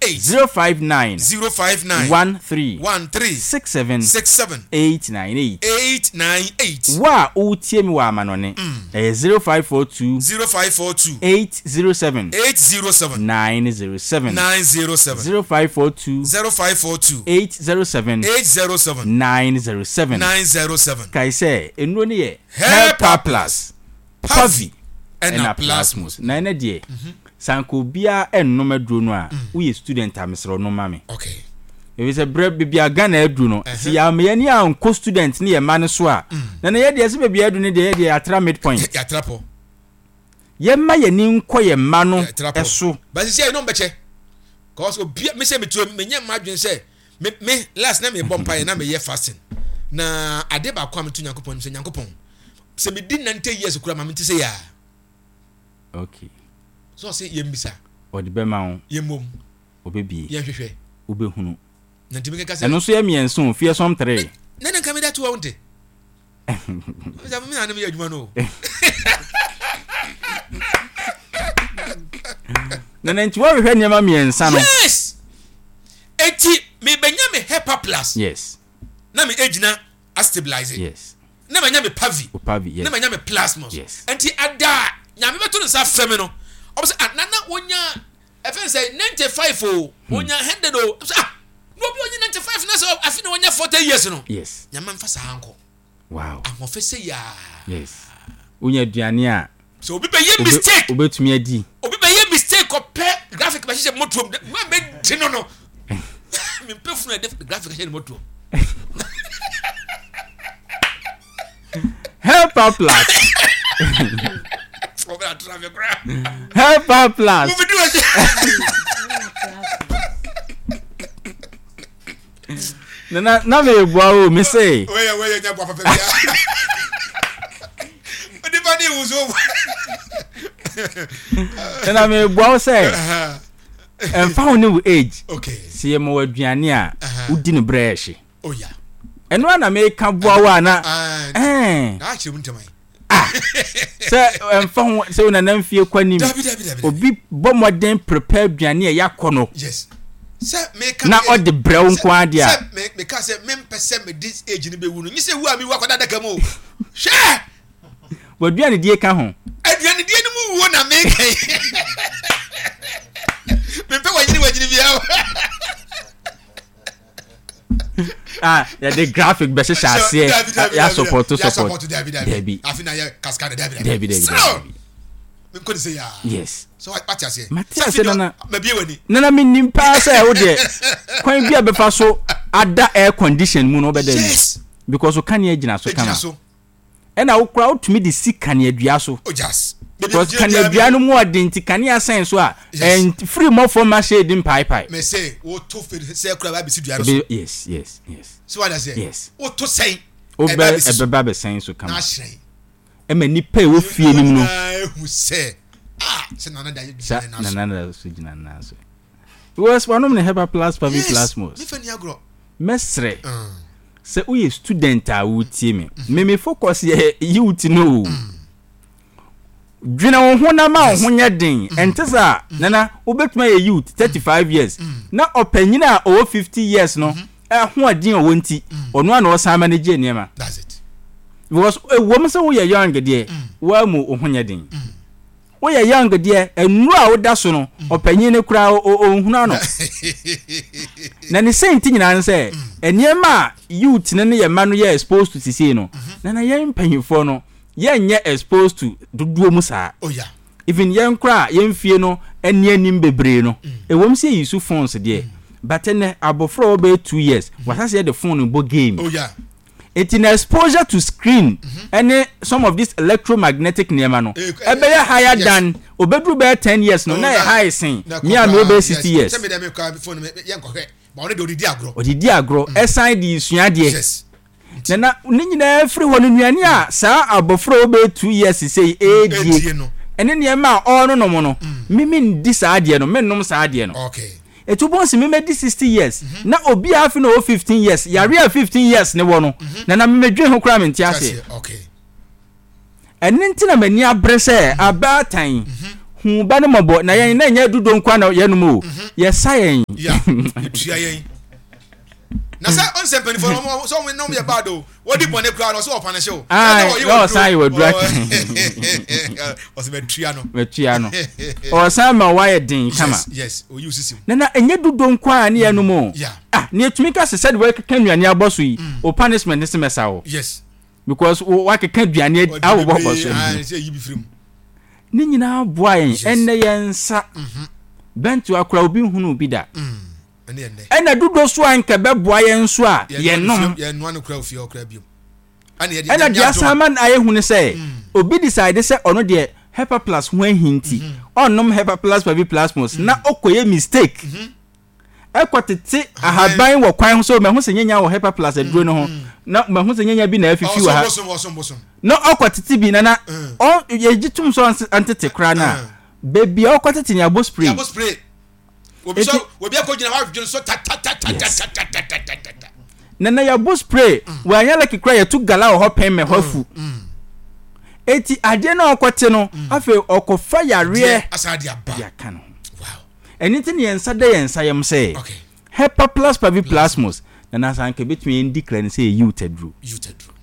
8. 059 059 13 13 67 67 898. 898. Wo a woretie me wɔ amanɔne, ɛyɛ 0542 0542 807 807 907. 907. 0542 0542 807 807 907. 907. Kae sɛ, nnuro no yɛ Herpa Herpa Plus, Pavi, Pavi, ɛna ɛna Plasmos. Plasmos. Na ɛnɛ deɛ, sɛ anka obiara nnom aduro no a, woyɛ student a, mesrɛ wo nom ma me. Okay. Ɛfiri sɛ berɛ baabi a Ghana aduru no, sɛ yɛamma yɛn ani ankɔ student ne yɛn mma no so a, na na yɛ deɛ sɛ baabi a aduru no deɛ yɛ deɛ yɛatra midpoint. Yɛatra pɔ. Yɛmma yɛn ani nkɔ yɛn mma no Yɛatra pɔ. so. But sisi a yɛn bɛkyɛ. Cause obi me sɛ metuo menyɛ mma adwene sɛ me me last na mebɔ mpaeɛ na meyɛ fasting. Na ade baako a meto Nyankopɔn anim sɛ Nyankopɔn sɛ medi 90 years kura ma mente sɛ yaa. Okay. So ɔse yɛmmisa. Ɔde bɛma wo. Yɛmmom. Ɔbɛbie. Yɛnhwehwɛ. Wobɛhunu. Na ntumi keka sɛ. Ɛno nso yɛ mmiɛnsa o, fearsome three. Na na nka meda to hɔ nte. Sɛ me na ne meyɛ adwuma no o. Na na nti wɔhwehwɛ nneɛma mmiɛnsa no. Yes! Eti mebɛnya me HEPA plus. Yes. Na me egyina astabilize. Yes. Na manya me pavi. O pavi, yes. Na manya me plasmos. Yes. Nti ada nyame bɛto ne nsa afrɛ me no. Ɔbɛ sɛ ah nana wonya ɛfɛn sɛ 95 o, wonya 100 o. Sɛ ah na obi onye 95 na sɛ afi na wonya 40 years no. Yes. Nyame mfa saa nkɔ. Wow. Ahoɔfɛ sɛ yaa. Yes. Wonya aduane a. Sɛ obi bɛyɛ mistake. Wobɛtumi adi. Obi bɛyɛ mistake ɔpɛ graphic bɛhyehyɛ motoom. Mɛ bɛ di no no. Mempɛ funu a ɛde graphic ahyɛ ne motoom. Helper plus. Helper plus. Nana na me bua o me se. Weye weye nya bua papa bia. Onipa ni wuso. Nana me bua o se. Ɛmfa ho ne wo age. Okay. Se yɛ ma wo aduane a wodi no brɛ ɛhye. Oh yeah. Ɛno a na meka boa wo a na. Ɛɛ. Na akyerɛ mu ntɛm ayi. Ah. Sɛ ɛmfa ho sɛ wo nana mfie kɔ anim. Dabi dabi dabi. Obi bɔ mmɔden prepare aduane a yɛakɔ no. Yes. Sɛ meka na ɔde brɛ wo nko ara deɛ a. Sɛ me meka sɛ mempɛ sɛ mede age no bɛwu no nye sɛ wu a mewu akɔda adaka mu o. Hwɛ! W'aduanedie ka ho. Aduanedie no mu wuo na meka yi. Mempɛ wanyini wanyini biara o. Ah, yɛde graphic bɛhyehyɛ aseɛ yɛ support support. Dabi. Afi na yɛ kaska dabi dabi. Dabi dabi dabi. Menkɔ ne sɛ yaa. Yes. So wate aseɛ. Mate aseɛ nana. Mabie w'ani. Nana menim paa sɛ wo deɛ kwan bi a bɛfa so ada air condition mu no wobɛda mu. Yes. Because kanea gyina so kama. Egyina so. Ɛna wo koraa wotumi de si kaneadua so. Oh jas. Because kaneadua no mu ɔden nti kanea sɛn so a ɛn firi mmɔfra ma shade mpaepae. Mɛ sɛ woto firi sɛ kura ba bɛsi dua no so. Yes yes yes. So wate aseɛ. Yes. Woto sɛn. Wobɛ ɛbɛba bɛsɛn so kama. Na ahyerɛn. Ɛma nipa ɛwɔ fie no mu no. Ehu sɛ ah sɛ nana da gyina ne nan so. Nana da so gyina ne nan so. Because wanom ne Hepa Plus Pavi Plasmos. Yes. Mefa ni agorɔ. Mɛsrɛ sɛ woyɛ student a wotie me. Me me focus yɛ youth no o. Dwene wo ho na ma wo ho nyɛ den. Ɛnte saa nana wobɛtumi ayɛ youth 35 years na ɔpanyin a ɔwɔ 50 years no ahoɔden a ɔwɔ nti ɔno a na ɔsan manage nneɛma. That's it. Because ɛwom sɛ woyɛ young deɛ woamu wo ho nyɛ den. Woyɛ young deɛ nnuro a woda so no ɔpanyin no koraa ɔnhunu ano. Na ne sɛ nti nyinaa ne sɛ nneɛma a youth no ne yɛn mma no yɛ exposed to sisei no na na yɛn mpanyinfoɔ no yɛnyɛ exposed to dodoɔ mu saa. Oh yeah. Even yɛn koraa yɛn fie no ani anim bebree no ɛwom sɛ yɛyi so phones deɛ but ɛnɛ abɔfra a ɔbɛyɛ 2 years wasase yɛ de phone bɔ game. Oh yeah. Enti na exposure to screen ɛne some of this electromagnetic nneɛma no ɛbɛyɛ higher than obeduru bɛyɛ 10 years no na ɛyɛ high sen me a mewɔ bɛyɛ 60 years. Sɛ me deɛ me kura phone me yɛ nkɔhwɛ ba ɔno deɛ ɔde di agorɔ. Ɔde di agorɔ ɛsan de sua adeɛ. Yes. Na na ne nyinaa firi hɔ no nnuane a saa abɔfra a ɔbɛyɛ 2 years sei ɛredie ɛne nneɛma a ɔrenonom no me mendi saa adeɛ no mennom saa adeɛ no. Okay. Etu bɔ nsi mɛmɛdi 60 years na obi a afi na ɔwɔ 15 years yare a 15 years ne wɔ no na na mɛmɛdwen ho koraa mente aseɛ. Okay. Ɛno nti na m'ani abere sɛ abaatan Hu ba no mmɔbɔ na yɛn na ɛnyɛ dudo nkoa na yɛnom o yɛsa yɛn. Ya etua yɛn na sɛ ɔnsɛ mpanyinfoɔ no ɔmo sɛ ɔmo nom yɛ bad o wɔdi bɔne koraa na ɔsɛ ɔpa ne hyew. Ayi na ɔsan yɛ wadura ɔsɛ mɛtua no mɛtua no ɔsan ma wayɛ den kama. Yes yes oyi osisi mu. Na na ɛnyɛ dudo nkoa ne yɛnom o ah ne yɛtumi ka sɛ sɛde wɔkeka nnuane abɔ so yi o punishment ne sɛ mɛsa wo. Yes. Because wakeka aduane awobɔ bɔ so. Ne nyinaa boa yɛn. Ɛnnɛ yɛn nsa mhm. bɛnto akora obi nhunu bi da. Mm, Ɛna dodo so a nka bɛboa yɛn nso a yɛnom. Ɛna deɛ asan ma ayɛ hu ne sɛ mm. obi decide sɛ ɔno deɛ hepa plus ho ahi nti mm-hmm. ɔnnom hepa plus pavi plasmos na mm. ɔkɔyɛ mistake. Mm-hmm. Ɛkɔ tete ahaban wɔ kwan ho sɛ mahu sɛ nyanya wɔ hepa plus aduro no ho na mahu sɛ nyanya bi na afifi wɔ ha na ɔkɔ tete bi na na yɛgye tom sɛ ɔntete koraa no a baabi a ɔkɔ tete no yɛabɔ spray. Yɛabɔ spray. Obi sɛ obi akɔ gyina hɔ adwene so tatatatatatatatata. Na na yɛabɔ spray wɔanya lucky koraa yɛto gala wɔ hɔ pɛn mɛ hɔ afu. Eti adeɛ na ɔkɔte no afei ɔkɔfa yareɛ de aka ne ho. Ɛno nti na yɛn nsa da yɛn nsa yam sɛ, Hepaplus parviplasmus, na na sɛ anka ebetumi yɛn declare no sɛ yɛ youth aduro.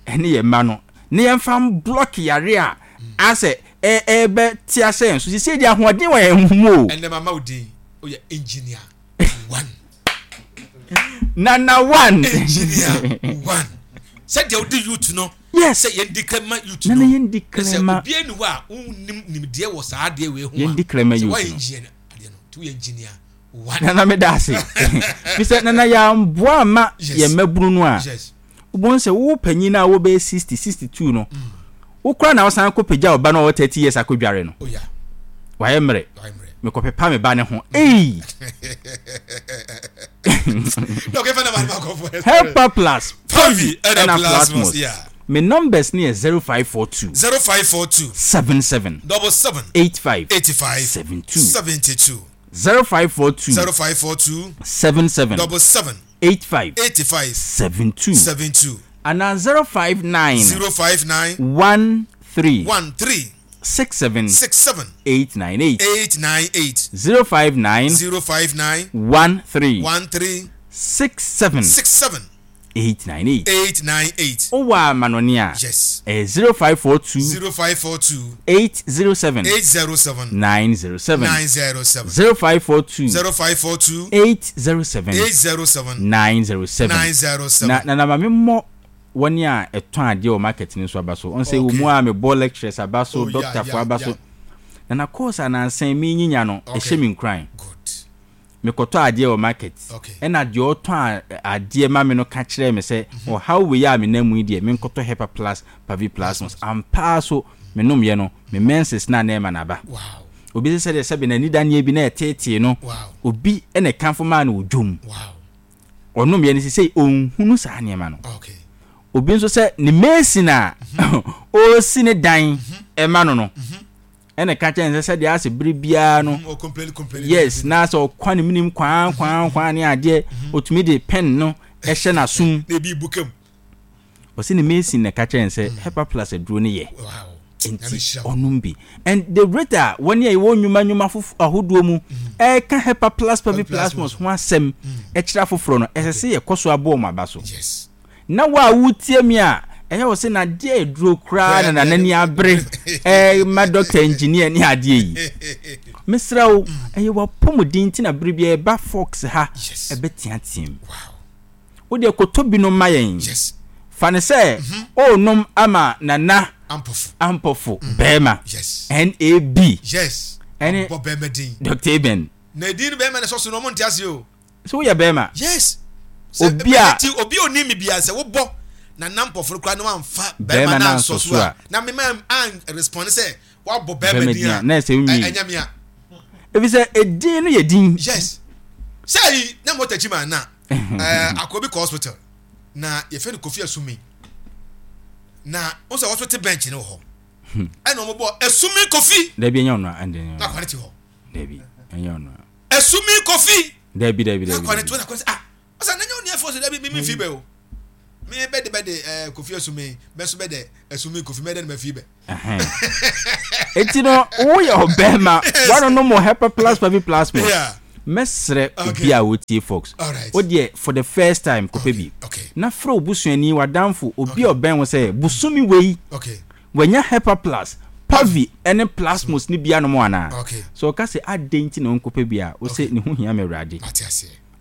Ɛne yɛn mma no, na yɛmfa mblɔk yare a asɛ ɛrebɛ te ahyɛ yɛn so. Sisi deɛ ahoɔden wɔ yɛn mu o. Ɛnɛ mama wo din, woyɛ engineer one. Nana one. Engineer one. Sɛdeɛ wode youth no. Yes. Sɛ yɛn declare ma youth no. Nana yɛn declare ma. Sɛ obiara ni hɔ a wonnim nimdeɛ wɔ saa adeɛ wei ho a. Yɛn declare ma youth no. Sɛ wɔyɛ engineer adeɛ no nti woyɛ engineer one. Nana meda ase. Fi sɛ nana yɛamboa amma yɛn mmabunu no a. Wobɛhu sɛ wo panyin a wobɛyɛ 60, 62 no, wo koraa na wosan kɔpagya wo ba no a ɔwɔ 30 years akɔdware no. Oh, Wayɛ mmerɛ. Mekɔpepa me ba no ho. Ei! Helper plus Pavi ɛna Plasmos. Me numbers no yɛ 0542. 0542. 77. 77. 85. 85. 72. 72. 0542. 0542. 77. 77. 85. 85. 72. 72. Anaa 059. 059. 13. 13. 67. 67. 898. 898. 059. 059. 13. 13. 67. 67. 898. 898. Wowɔ amanɔne a, Yes. ɛyɛ 0542. 0542. 807. 807. 907. 907. 0542. 0542. 807. 807. 907. 907. Na na na ma memmɔ wɔn a ɛtɔn adeɛ wɔ market no so aba so. Ɔn sɛ wɔ mu a mebɔ lecturers aba so, Oh, yeah, doctorfoɔ yeah, aba so. yeah. Na na course a nansa yi menyinya no, ɛhyɛ me nkuran. Good. Mekɔtɔ adeɛ wɔ market, ɛna deɛ ɔtɔn adeɛ ma me no ka kyerɛɛ me sɛ ɔhaw wei a menam mu yi deɛ menkɔtɔ Hepa Plus Paviplasmus. Ampa ara so menomyɛ no, me menses no a na ɛma no aba. Obi sɛ sɛdeɛ sɛbe n'anidaneɛ bi na ɛteetee no, obi na ɛkamfo maa no wɔ dwom. Ɔnomyɛ no sesei ɔnhunu saa nneɛma no. Obi nso sɛ ne mason a ɔresi ne dan ma no no, ɛna ɛka kyerɛ no sɛ sɛdeɛ asɛ bere biara no yes na sɛ ɔkwa ne menim kwaa kwaa kwaa ne adeɛ ɔtumi de pen no ɛhyɛ n'asom ɔsɛ ne mason na ɛka kyerɛ no sɛ hepa plus aduro no yɛ nti ɔnom bi and the rate a wɔne a yɛwɔ nnwuma nnwuma ahodoɔ mu ɛka hepa plus pavi plasmos ho asɛm ɛkyerɛ afoforɔ no ɛsɛ sɛ yɛkɔ so aboɔ wɔn aba so. Na wo a woretie me a, ɛyɛ wo sɛ n'adeɛ yɛ duro koraa na n'ani abere ɛma doctor engineer ne adeɛ yi. Mesrɛ wo, ɛyɛ w'apɔmuden nti na bere biara ɛba Fox ha ɛbɛteateam. Wo deɛ kɔtɔ binom ma yɛn. Fa no sɛ ɔrenom ama Nana Ampofo barima, NAB, ɛne Doctor Eben. Na edin no bɛrima na ɛsɔ so no, wɔn nte aseɛ o. So woyɛ bɛrima? Yes. Obi a. Ti obi a onim mi bia sɛ wobɔ na nam pɔfo no koraa na wamfa bɛrima na ansɔ so a na mema an respond sɛ wabɔ bɛrima din a na ɛsɛ nwi ɛnyɛ me a. Ebi sɛ edin no yɛ din. Yes. Sɛ yi na mo takyi ma na ɛɛ akɔ bi kɔ hospital na yɛfɛ no Kofi Asumi na n sɛ hospital bench no wɔ hɔ ɛna wɔn bɔ Asumi Kofi. Dabi ɛnyɛ ɔno a ɛnde. Na akwa ne te hɔ. Dabi ɛnyɛ ɔno a. Esumi Kofi. Dabi dabi dabi. Akwa ne to na kɔ sɛ ah ɔsɛ n'enye onua fo so dabi mi mi fi bɛ o. Mi bɛ de bɛ de ɛɛ Kofi Esumi bɛ so bɛ de Esumi Kofi mɛ de ne mɛ fi bɛ. Eti no woyɛ ɔbɛrima woanonom wɔ Hepa Plus Pavi Plasmos. Mɛsrɛ obi a ɔtie Fox. Wo deɛ for the first time kɔpɛ bi. Na frɛ wo busuani, w'adamfo, obi a ɔbɛn wo sɛ bosome wei wanya Hepa Plus, Pavi ne Plasmos no bi anom anaa? Sɛ ɔka sɛ adɛn nti na ɔnkɔpɛ bi a, wose ne ho hia me Awurade.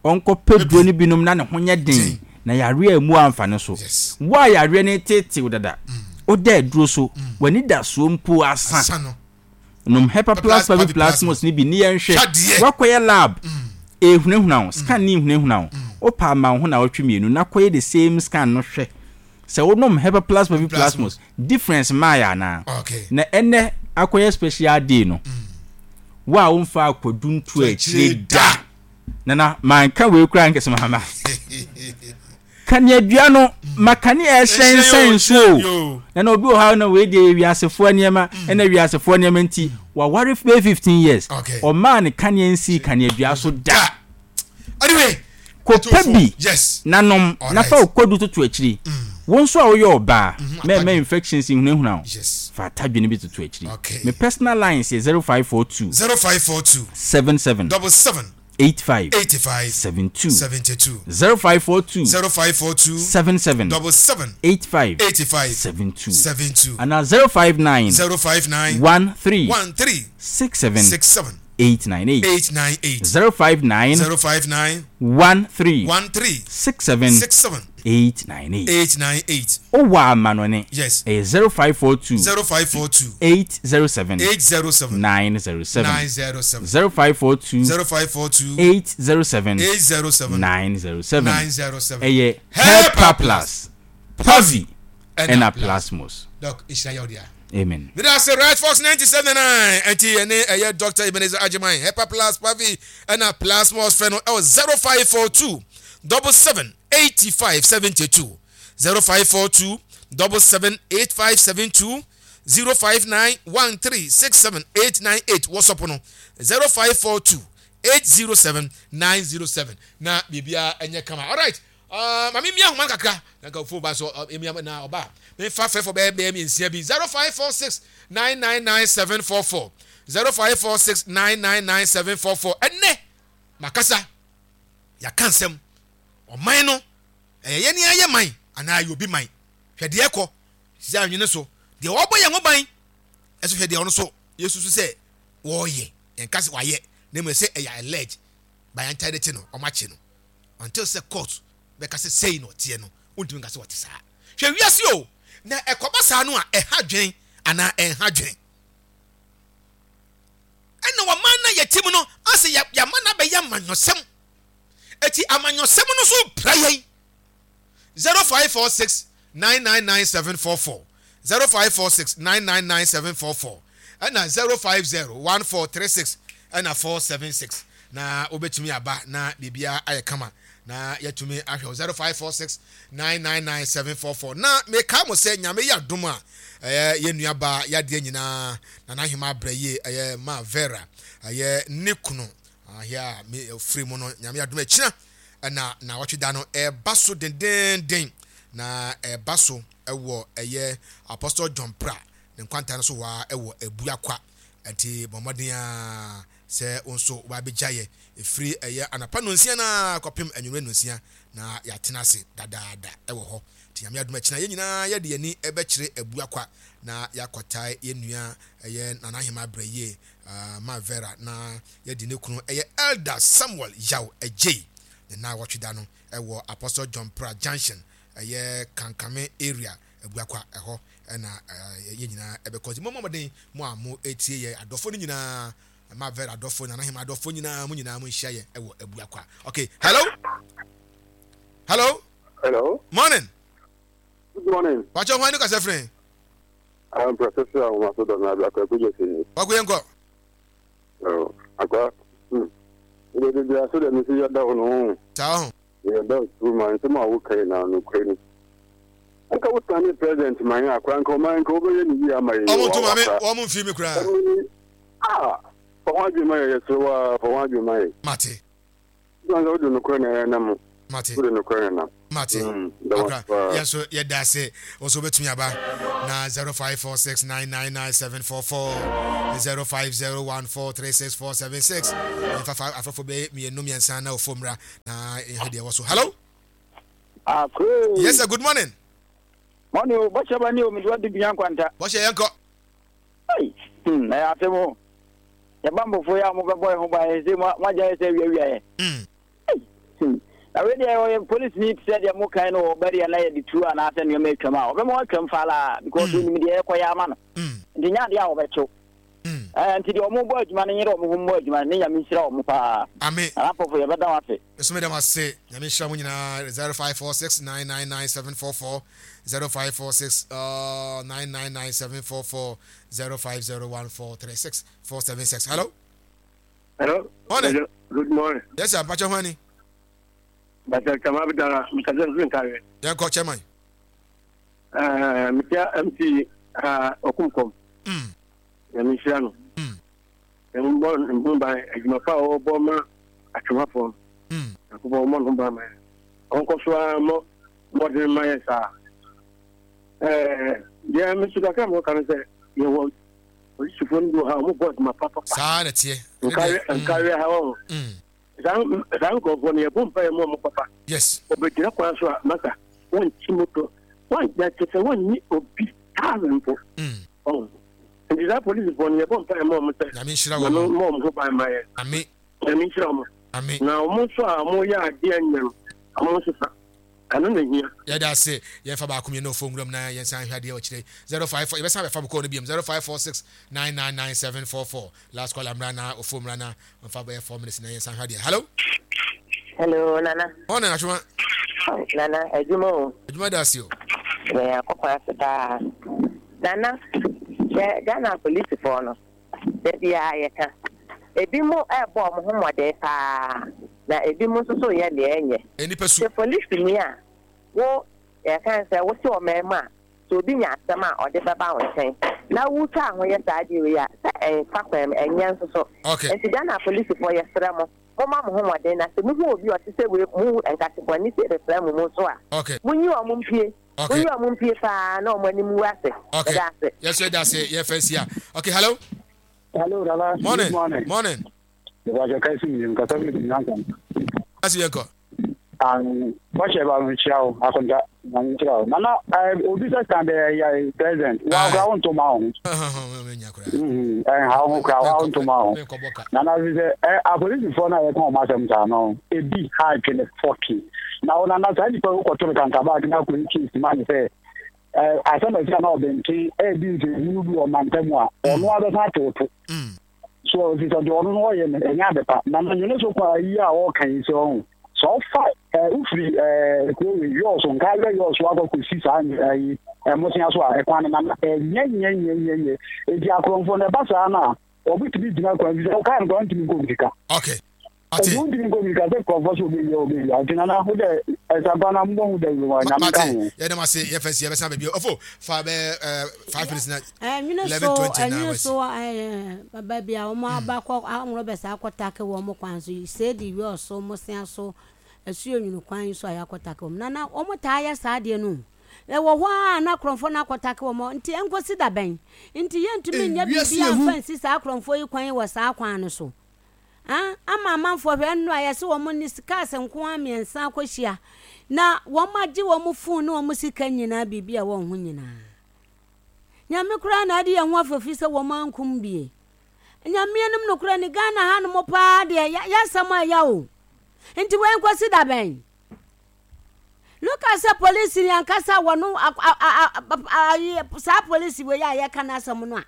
Ɔnkɔpɛ duro no binom na ne ho nyɛ den na yareɛ ammu amfa ne so. Wo a yareɛ no reteetee wo dada, woda aduro so, w'anidasoɔ mpo asa. Nom Hepaplus Paviplasmus no bi ne yɛnhwɛ. Woakɔyɛ lab, ɛrehunahuna wo, scan no rehunahuna wo. Wopɛ a ma wo ho nnawɔtwe mmienu na kɔyɛ the same scan no hwɛ sɛ wonom Hepaplus Paviplasmus, difference maaeɛ anaa. Na ɛnnɛ akɔyɛ special day no, wo a womfaa kwadu nto akyire da. Nana, manka wei koraa nkɛsɛ mahama. Kaneadua no, ma kanea ɛhyɛnsɛn so o. Nana obi wɔ ha na wei deɛ yɛ wiasefoɔ nneɛma, ɛna wiasefoɔ nneɛma nti, waware bɛyɛ 15 years. Ɔmaa ne kanea nsii kaneadua so da. Anyway, Kɔpɛ bi na nom na fa wo kwadu toto akyiri. Wo nso a woyɛ ɔbaa, mɛmma infections nhunahuna wo. Fa atadwe no bi toto akyiri. Me personal lines yɛ 0542. 0542. 77. 77. 85. 85. 72. 72. 0542. 0542. 77. 77. 85. 85. 72. 72. Anaa 059. 059. 13. 13. 67. 67. 898. 898. 059. 059. 13. 13. 67. 67. 898. 898. Wowɔ amanɔne. Yes. Ɛyɛ 0542. 0542. 807. 807. 907. 907. 0542. 0542. 807. 807. 907. 907. Ɛyɛ Hepa Hepa Plus, Pavi, ɛna Plasmos. Doc, nhyira yɛ wo dea. Amen. Meda ase Right Fox 97.9 ɛnti yɛne ɛyɛ Dr. Ebenezer Agyeman Hepa Plus Pavi ɛna Plasmos fɛ no ɛwɔ 0542 77 85 72 0542 77 85 72 059 13 67 898 WhatsApp no 0542 807 907 na biribiara ɛnyɛ kama alright uh, ma memia ahoma no kakra na nka phone ba so uh, emia na ɔba memfa fɛfo bɛyɛ bɛyɛ mmiɛnsia bi 0546 999 744 0546 999 744 ɛnɛ makasa yɛaka nsɛm ɔman no ɛyɛ yɛne ayɛ man anaa ɛyɛ obi man hwɛ deɛ ɛkɔ sisi anwene so deɛ ɔbɔ yɛn ho ban ɛso hwɛ deɛ ɔno so yɛsusu sɛ wɔreyɛ yɛnka sɛ wayɛ na mmom sɛ ɛyɛ allege by antae de kye no ɔmo akye no until sɛ court bɛka sɛ sei na ɔteɛ no wontumi nka sɛ ɔte saa hwɛ wiase o na ɛkɔba saa no a ɛha dwen anaa ɛnha dwen ɛna wɔman na yɛte mu no asɛ yɛama no abɛyɛ amanyɔsɛm eti amanyɔsɛm no so pira yɛn 0546 999 744 0546 999 744 ɛna 050 1436 ɛna 476 na wobɛtumi aba na biribiara ayɛ kama na yɛatumi ahwɛ wo 0546 999 744 na meka mo sɛ nyame yɛ adom a ɛyɛ yɛn nuabaa yadeɛ nyinaa na n'ahema abrɛ yie ɛyɛ ma Vera ɛyɛ ne kunu ahɛ a me firi mu no nyame adom akyina ɛna naawɔtwe da no ɛreba so dendeenden na ɛreba so ɛwɔ ɛyɛ Apostle John Pra ne nkwanta no so hɔ ara ɛwɔ Abuakwa nti bɔ mmɔden a sɛ wo nso wabɛgya yɛ ɛfiri ɛyɛ anapa nonsia no ara kɔpem anwummerɛ nonsia na yɛatena ase dadaada ɛwɔ hɔ nti nyame adom akyina yɛn nyinaa yɛde yɛn ani ɛbɛkyerɛ Abuakwa na yɛakɔtae yɛn nua ɛyɛ Nana Ahema Brɛyie uh, ma Vera na yɛde ne kunu ɛyɛ Elder Samuel Yaw Adjei ne naawɔtwe da no ɛwɔ Apostle John Pra Junction ɛyɛ Kankame area Abuakwa ɛhɔ ɛna yɛn nyinaa ɛbɛkɔ nti mommɔ mmɔden mo a mo etie yɛ adɔfo no nyinaa ma Vera adɔfo Nana Hema adɔfo nyinaa mo nyinaa mo nhyia yɛ ɛwɔ Abuakwa. Okay, hello, hello, hello, morning. Good morning. Wàkyɛ hwan ni kasa firi? I'm Professor Ahomaso Dɔnna Abuakwa Ekugye Sini. Wako yɛn kɔ. Akwa, wode bia so dɛ mesi yɛda wo no ho. Saa ho. Yɛda wo turu ma nsɛm a woka nyinaa nokorɛ ni. Anka wo sane president ma yɛn akora nka ɔman nka wobɛyɛ ne yie ama yɛn. Ɔmo nto ma me, wɔn mfii me koraa. Ah, fa ho adwene ma yɛn, yɛsrɛ wo ara, fa ho adwene ma yɛn. Mate. Sɛ wode nokorɛ na ɛnam. Mate. Wode nokorɛ na nam. Mate. Mm, da wo Akra, ase paa. yɛn nso yɛda ase. Wo nso wobɛtumi aba na 0546999744, 0501436476. Yɛmfa fa afrɛfo bɛyɛ mmienu mmiɛnsa na ofo mmra na yɛhwɛ deɛ ɛwɔ so. Hello? Akre. Yes sir, good morning. Morning o, bɔhyɛ ba ni o, mede wadi bia nkwanta. Bɔhyɛ yɛnkɔ. Ei, hmm, ɛyɛ asɛm o. Yɛba mbɔfo yi a mobɛbɔ yɛn ho ban sɛ moagya yɛ sɛ awiawia yɛn. Mm. Ei, hmm. Na wei deɛ ɔyɛ polisini te sɛ deɛ mo kan no wɔ bɛdeɛ na yɛde tuo anaasɛ nneɛma atwam a ɔbɛma watwam falaa because mm. onim deɛ ɛkɔyɛ ama no. Mm. Nti nyɛ adeɛ a wɔbɛkyew. Mm. Eh, nti deɛ ɔmo bɔ adwuma no nyere ɔmo ho mmɔ adwuma no ne Nyame nhyira ɔmo paa. Amen. Nana Pɔfo yɛbɛda wo ase. Nso meda mo ase. Nyame nhyira mo nyinaa. 0546 999 744 0546 uh, 999 744 0501 436 476. Hello. Hello. Morning. Good morning. Yes sir, mpakyɛ ho ani. Mpakyɛ kama abidara mkasa mfiri nkareɛ. Yɛnkɔ chairman. Uh, metia MC uh, Okumkom. Mm. Nyame nhyira no. Mm. Nyame mbɔ ne ho ban adwuma pa a ɔbɔ ma atwemafoɔ no. Mm. Nyankopɔn ɔmmɔ ne ho ban ma yɛn. Ɔnkɔ so ara mmɔ mmɔden ma yɛn saa. Ɛɛ deɛ me nso kakra mewɔ ka no sɛ yɛwɔ polisifoɔ no bi wɔ ha wɔn bɔ adwuma papapa. Saa na ɛteɛ. Nkareɛ nkareɛ ha wɔn. Saa saa nkurɔfoɔ no yɛbɔ mpa yɛ mu wɔn papa. Yes. Wɔbɛgyina kwan so a masa wɔnkyi moto wɔn kyɛ sɛ wɔnyi obi thousand mpo. Ɔn. Nti saa polisifoɔ no yɛbɔ mpaeɛ ma wɔn sɛ Nyame nhyira wɔn. Nyame mmɔ wɔn ho ban ma yɛn. Ame. Nyame nhyira wɔn. Ame. Na wɔn nso a wɔyɛ adeɛ nyɛ no, wɔn nsesa. Ɛno na ehia. Yɛda ase. Yɛmfa baako mmienu wɔ fon wuram na yɛnsan nhwɛ adeɛ wɔ akyire. 054 yɛbɛsan abɛfa mo call no biom. 0546 999 744. Last caller mmra na ofo mmra na ɔmfa bɛyɛ 4 minutes na yɛnsan hwɛ adeɛ. Hello. Hello, Nana. Morning, Atwoma. Oh, Nana, adwuma o. Adwuma da ase o. Yɛn akɔkɔ ase paa. Nana, hwɛ Ghana apolisifoɔ no, da biara yɛka. Ebinom rebɔ wɔn ho mmɔden paa, na ebinom nso so reyɛ deɛ ɛnyɛ. Nnipa su. Sɛ polisini a, wo, yɛka no sɛ wote ɔman mu a, sɛ obi nya asɛm a, ɔde bɛba wo nkyɛn, na wotwa ho yɛ saa adeɛ wei a, sɛ ɛmfa kwan mu, ɛnyɛ nso so. Okay. Nti Ghana apolisifoɔ, yɛsrɛ mo, momma mo ho mmɔden, na sɛ mohu obi a ɔte sɛ wei, mo nkate bɔne sei bɛfra mo mu nso a, Okay. monyi wɔn mpue. Okay. Monyi wɔn mpue paa na wɔn anim ngu ase. Okay. Meda ase. Yɛn nso yɛda ase. Yɛfa nsi a. Okay, hello. Hello, Nana. Morning. Good morning. Morning. Ìbàjẹ́ kẹ́sì mi, nǹkan sọ́mi ti nǹkan kan. Kasi yɛn kɔ. Bọ́sẹ̀ bá mi kyerɛ o, akonta na mi kyerɛ o. Nana, obi sɛ stand yɛ president, wa kura wo ntoma ho. Ɛnha wo ho kura wa wo ntoma ho. Nana fi sɛ ɛ apolisifoɔ no a yɛka wɔn asɛm saa no, ebi ha adwene fɔki. Na wo nana saa nipa yi wokɔto no kantabaag na akɔyi case ma ne sɛ ɛ asɛm a ɛsi a na ɔbɛnten ɛredi nsɛnhunu bi wɔ mantam a, ɔno abɛsan atoto. So ɔsi sɛ deɛ ɔno no ɔyɛ no ɛnyɛ ade pa. Na na nwene so kɔ ayi a ɔreka yi sɛ ɔho sɛ ɔfa ɛɛ wofiri ɛɛ kuro wei yɔɔso nka yɛ yɔɔso akɔ kɔsi saa ɛyi ɛmosea so a ɛkwan no na ɛnyɛ nyɛ nyɛ nyɛ nyɛ eti akorɔmfoɔ no ɛba saa no a wɔbɛtumi gyina kwan bi sɛ ɔkaa no kwan ntumi nkɔ mirika. Okay. Ɔde wontumi nkɔ mirika sɛ nkurɔfoɔ sɛ obɛwia obɛwia nti nana wo dɛ ɛsampa na mbɔ ho dawuro ma nyame nka ho. Yɛda mo ase yɛfa si yɛbɛsan baabi ɔfo fa bɛ 5 minutes na Ɛnwene so 11:20 na ɛnwene wasi. so ɛɛ baabi a wɔn aba kɔ ahorow bɛ saa akɔ take wɔn kwan so yi seedi yɔɔ so mosea so asuo nwunu kwan yi so a yɛakɔ take wɔn na na wɔn taa yɛ saa adeɛ no o ɛwɔ hɔ a na korɔmfoɔ no akɔ take wɔn nti ɛnkɔsi da bɛn nti yɛntumi nyɛ Ewiase biribi ehu. amfa nsi saa korɔmfoɔ yi kwan wɔ saa kwan no so. Ah ama amanfoɔ hwɛ ɛno a yɛse wɔn ne cars nko ara mmiɛnsa akɔhyia na wɔn agye wɔn phone ne wɔn sika nyinaa biribi a wɔn ho nyinaa. Nyame koraa na ade yɛn ho afafi sɛ wɔn ankum bie. Nyame anim nokorɛ ne Ghana ha nom paa deɛ yɛasɛm a ɛya o. Nti wei nkɔsi da bɛn? Look at sɛ polisi ni ankasa wɔn saa polisi wei a yɛka n'asɛm no a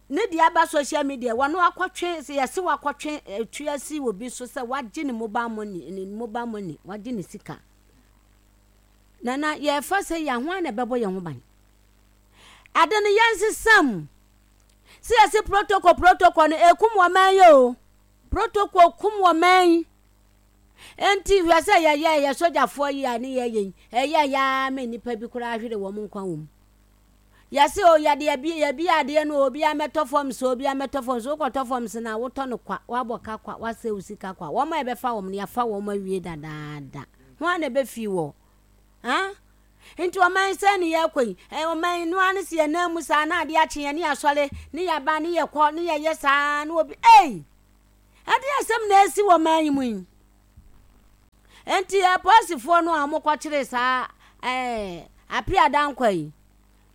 ne deɛ aba social media wɔn akɔtwe sɛ yɛse wakɔtwe etua si obi so sɛ wagye ne mobile money ne mobile money wagye ne sika na na yɛfa sɛ yɛn ho na ɛbɛbɔ yɛn ho ban ade no yɛnsesa mu sɛ yɛse protocol protocol no ekum wɔ man yi o protocol kum wɔ man yi enti hwɛ sɛ yɛyɛ yɛ sogyafoɔ yi a ne yɛyɛ yi ɛyɛ yɛa ma nnipa bi koraa hwere wɔn nkwa wɔ mu Yɛse o yɛde yɛbi yɛbi adeɛ no o obiara mmɛtɔ fam so obiara mmɛtɔ fam so wokɔtɔ fam so no a wotɔ no kwa woabɔ ka kwa woasɛe wo sika kwa wɔn a yɛbɛfa wɔn no yɛafa wɔn awie dadaada. Hwan na ɛbɛfii wɔ? Huh? Nti ɔman yi sɛn ne yɛrekɔ yi? Ɛ ɔman yi no ara ne sɛ yɛn nan mu saa na adeɛ akye yɛn ne yɛasɔre ne yɛaba ne yɛkɔ ne yɛyɛ saa na obi ei! Ɛdeɛ asɛm na ɛsi wɔ ɔman yi mu yi. Nti apolisifoɔ no a wɔkɔkyeree saa ɛɛ Apia Dankwa yi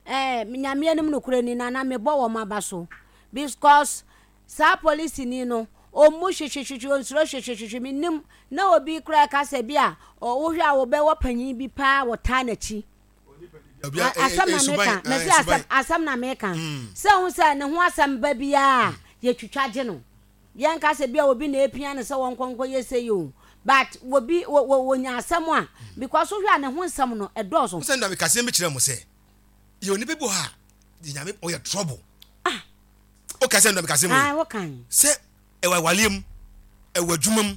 ɛɛ Nyame anim nokorɛ ni na na mebɔ wɔn aba so because Saa polisini no, ɔmmu hwehwehwehwe, ɔnsuro hwehwehwehwe. Mennim, na obi koraa ɛka sɛ bi a wohwɛ a wobɛwɔ panyin bi paa wɔtaa n'akyi. Asɛm na meka, mese asɛm, asɛm na meka. Sɛ wohu sɛ ne ho asɛm ba biara a, yɛtwitwa gye no. Yɛnka sɛ bi a obi na epia no sɛ wɔnkɔ nkɔyɛ sei o, but obi, wɔnya asɛm a, because wohwɛ a ne ho nsɛm no, ɛdɔɔso. Wo sɛ nda meka asɛm bi kyerɛ mo sɛ, yɛwɔ nipa bi wɔ hɔ a, Nyame ɔyɛ trouble. Ah, Woka sɛ ndɔm kase mu yi. Wokan. Sɛ ɛwɔ awaleɛ mu, ɛwɔ adwuma mu,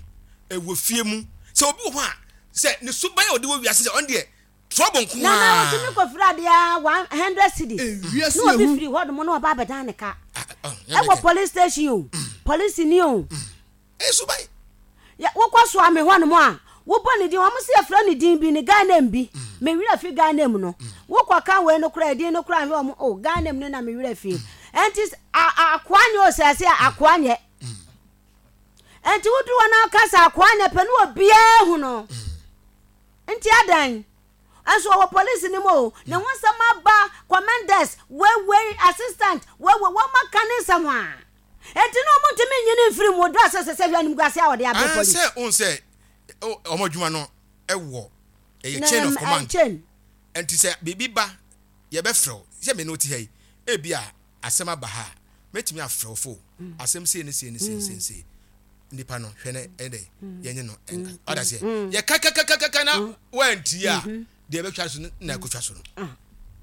ɛwɔ fie mu. Sɛ obi wɔ hɔ a, sɛ ne suban a ɔde wɔ wiase sɛ ɔno deɛ trouble nko ara. Nana otumi kɔ firi adeɛ a 100 cedis. Na obi firi hɔ nom na ɔba abɛdan ne ka. Ɛwɔ police station o, police ni o. Ɛyɛ suban. Yɛ wokɔ soa me hɔ nom a, wobɔ ne din, wɔn se yɛfrɛ ne din bi, ne guy name bi. Mm. Me werɛ fi guy name no. Mm. Wokɔ ka wei no koraa, din no koraa nhwɛ wɔn, oh, guy name no na me werɛ fi. Ɛnti akoa nyɛ o sɛ ɛsɛ akoa nyɛ. Ɛnti woduru hɔ na ɔka sɛ akoa nyɛ pɛ ne obiara hu no. Nti adan. Nso ɔwɔ police no mu o, ne ho nsɛm aba, commanders, wei wei, assistant, wei wei, wɔn aka ne nsɛm a. Enti na wɔntumi nyi no mfiri mu dɔ sɛ sɛ sɛ hwɛ animguase a wɔde abrɛ Ah, police. sɛ wohu sɛ oh, wɔn adwuma no wɔ ɛyɛ Na chain of ɛm, command. chain. Nti sɛ biribi ba yɛbɛfrɛ wo sɛ me ne wo te ha yi ebi a asɛm aba ha a mɛtumi afrɛ wo fo asɛm sei ne sei ne sei ne sei ne sei nipa no hwɛ no ɛyɛ dɛ yɛnye no ɛnka ɔda seɛ yɛka kakakakaka na wantie a deɛ ɛbɛtwa so no na ɛkɔtwa so no. Ah,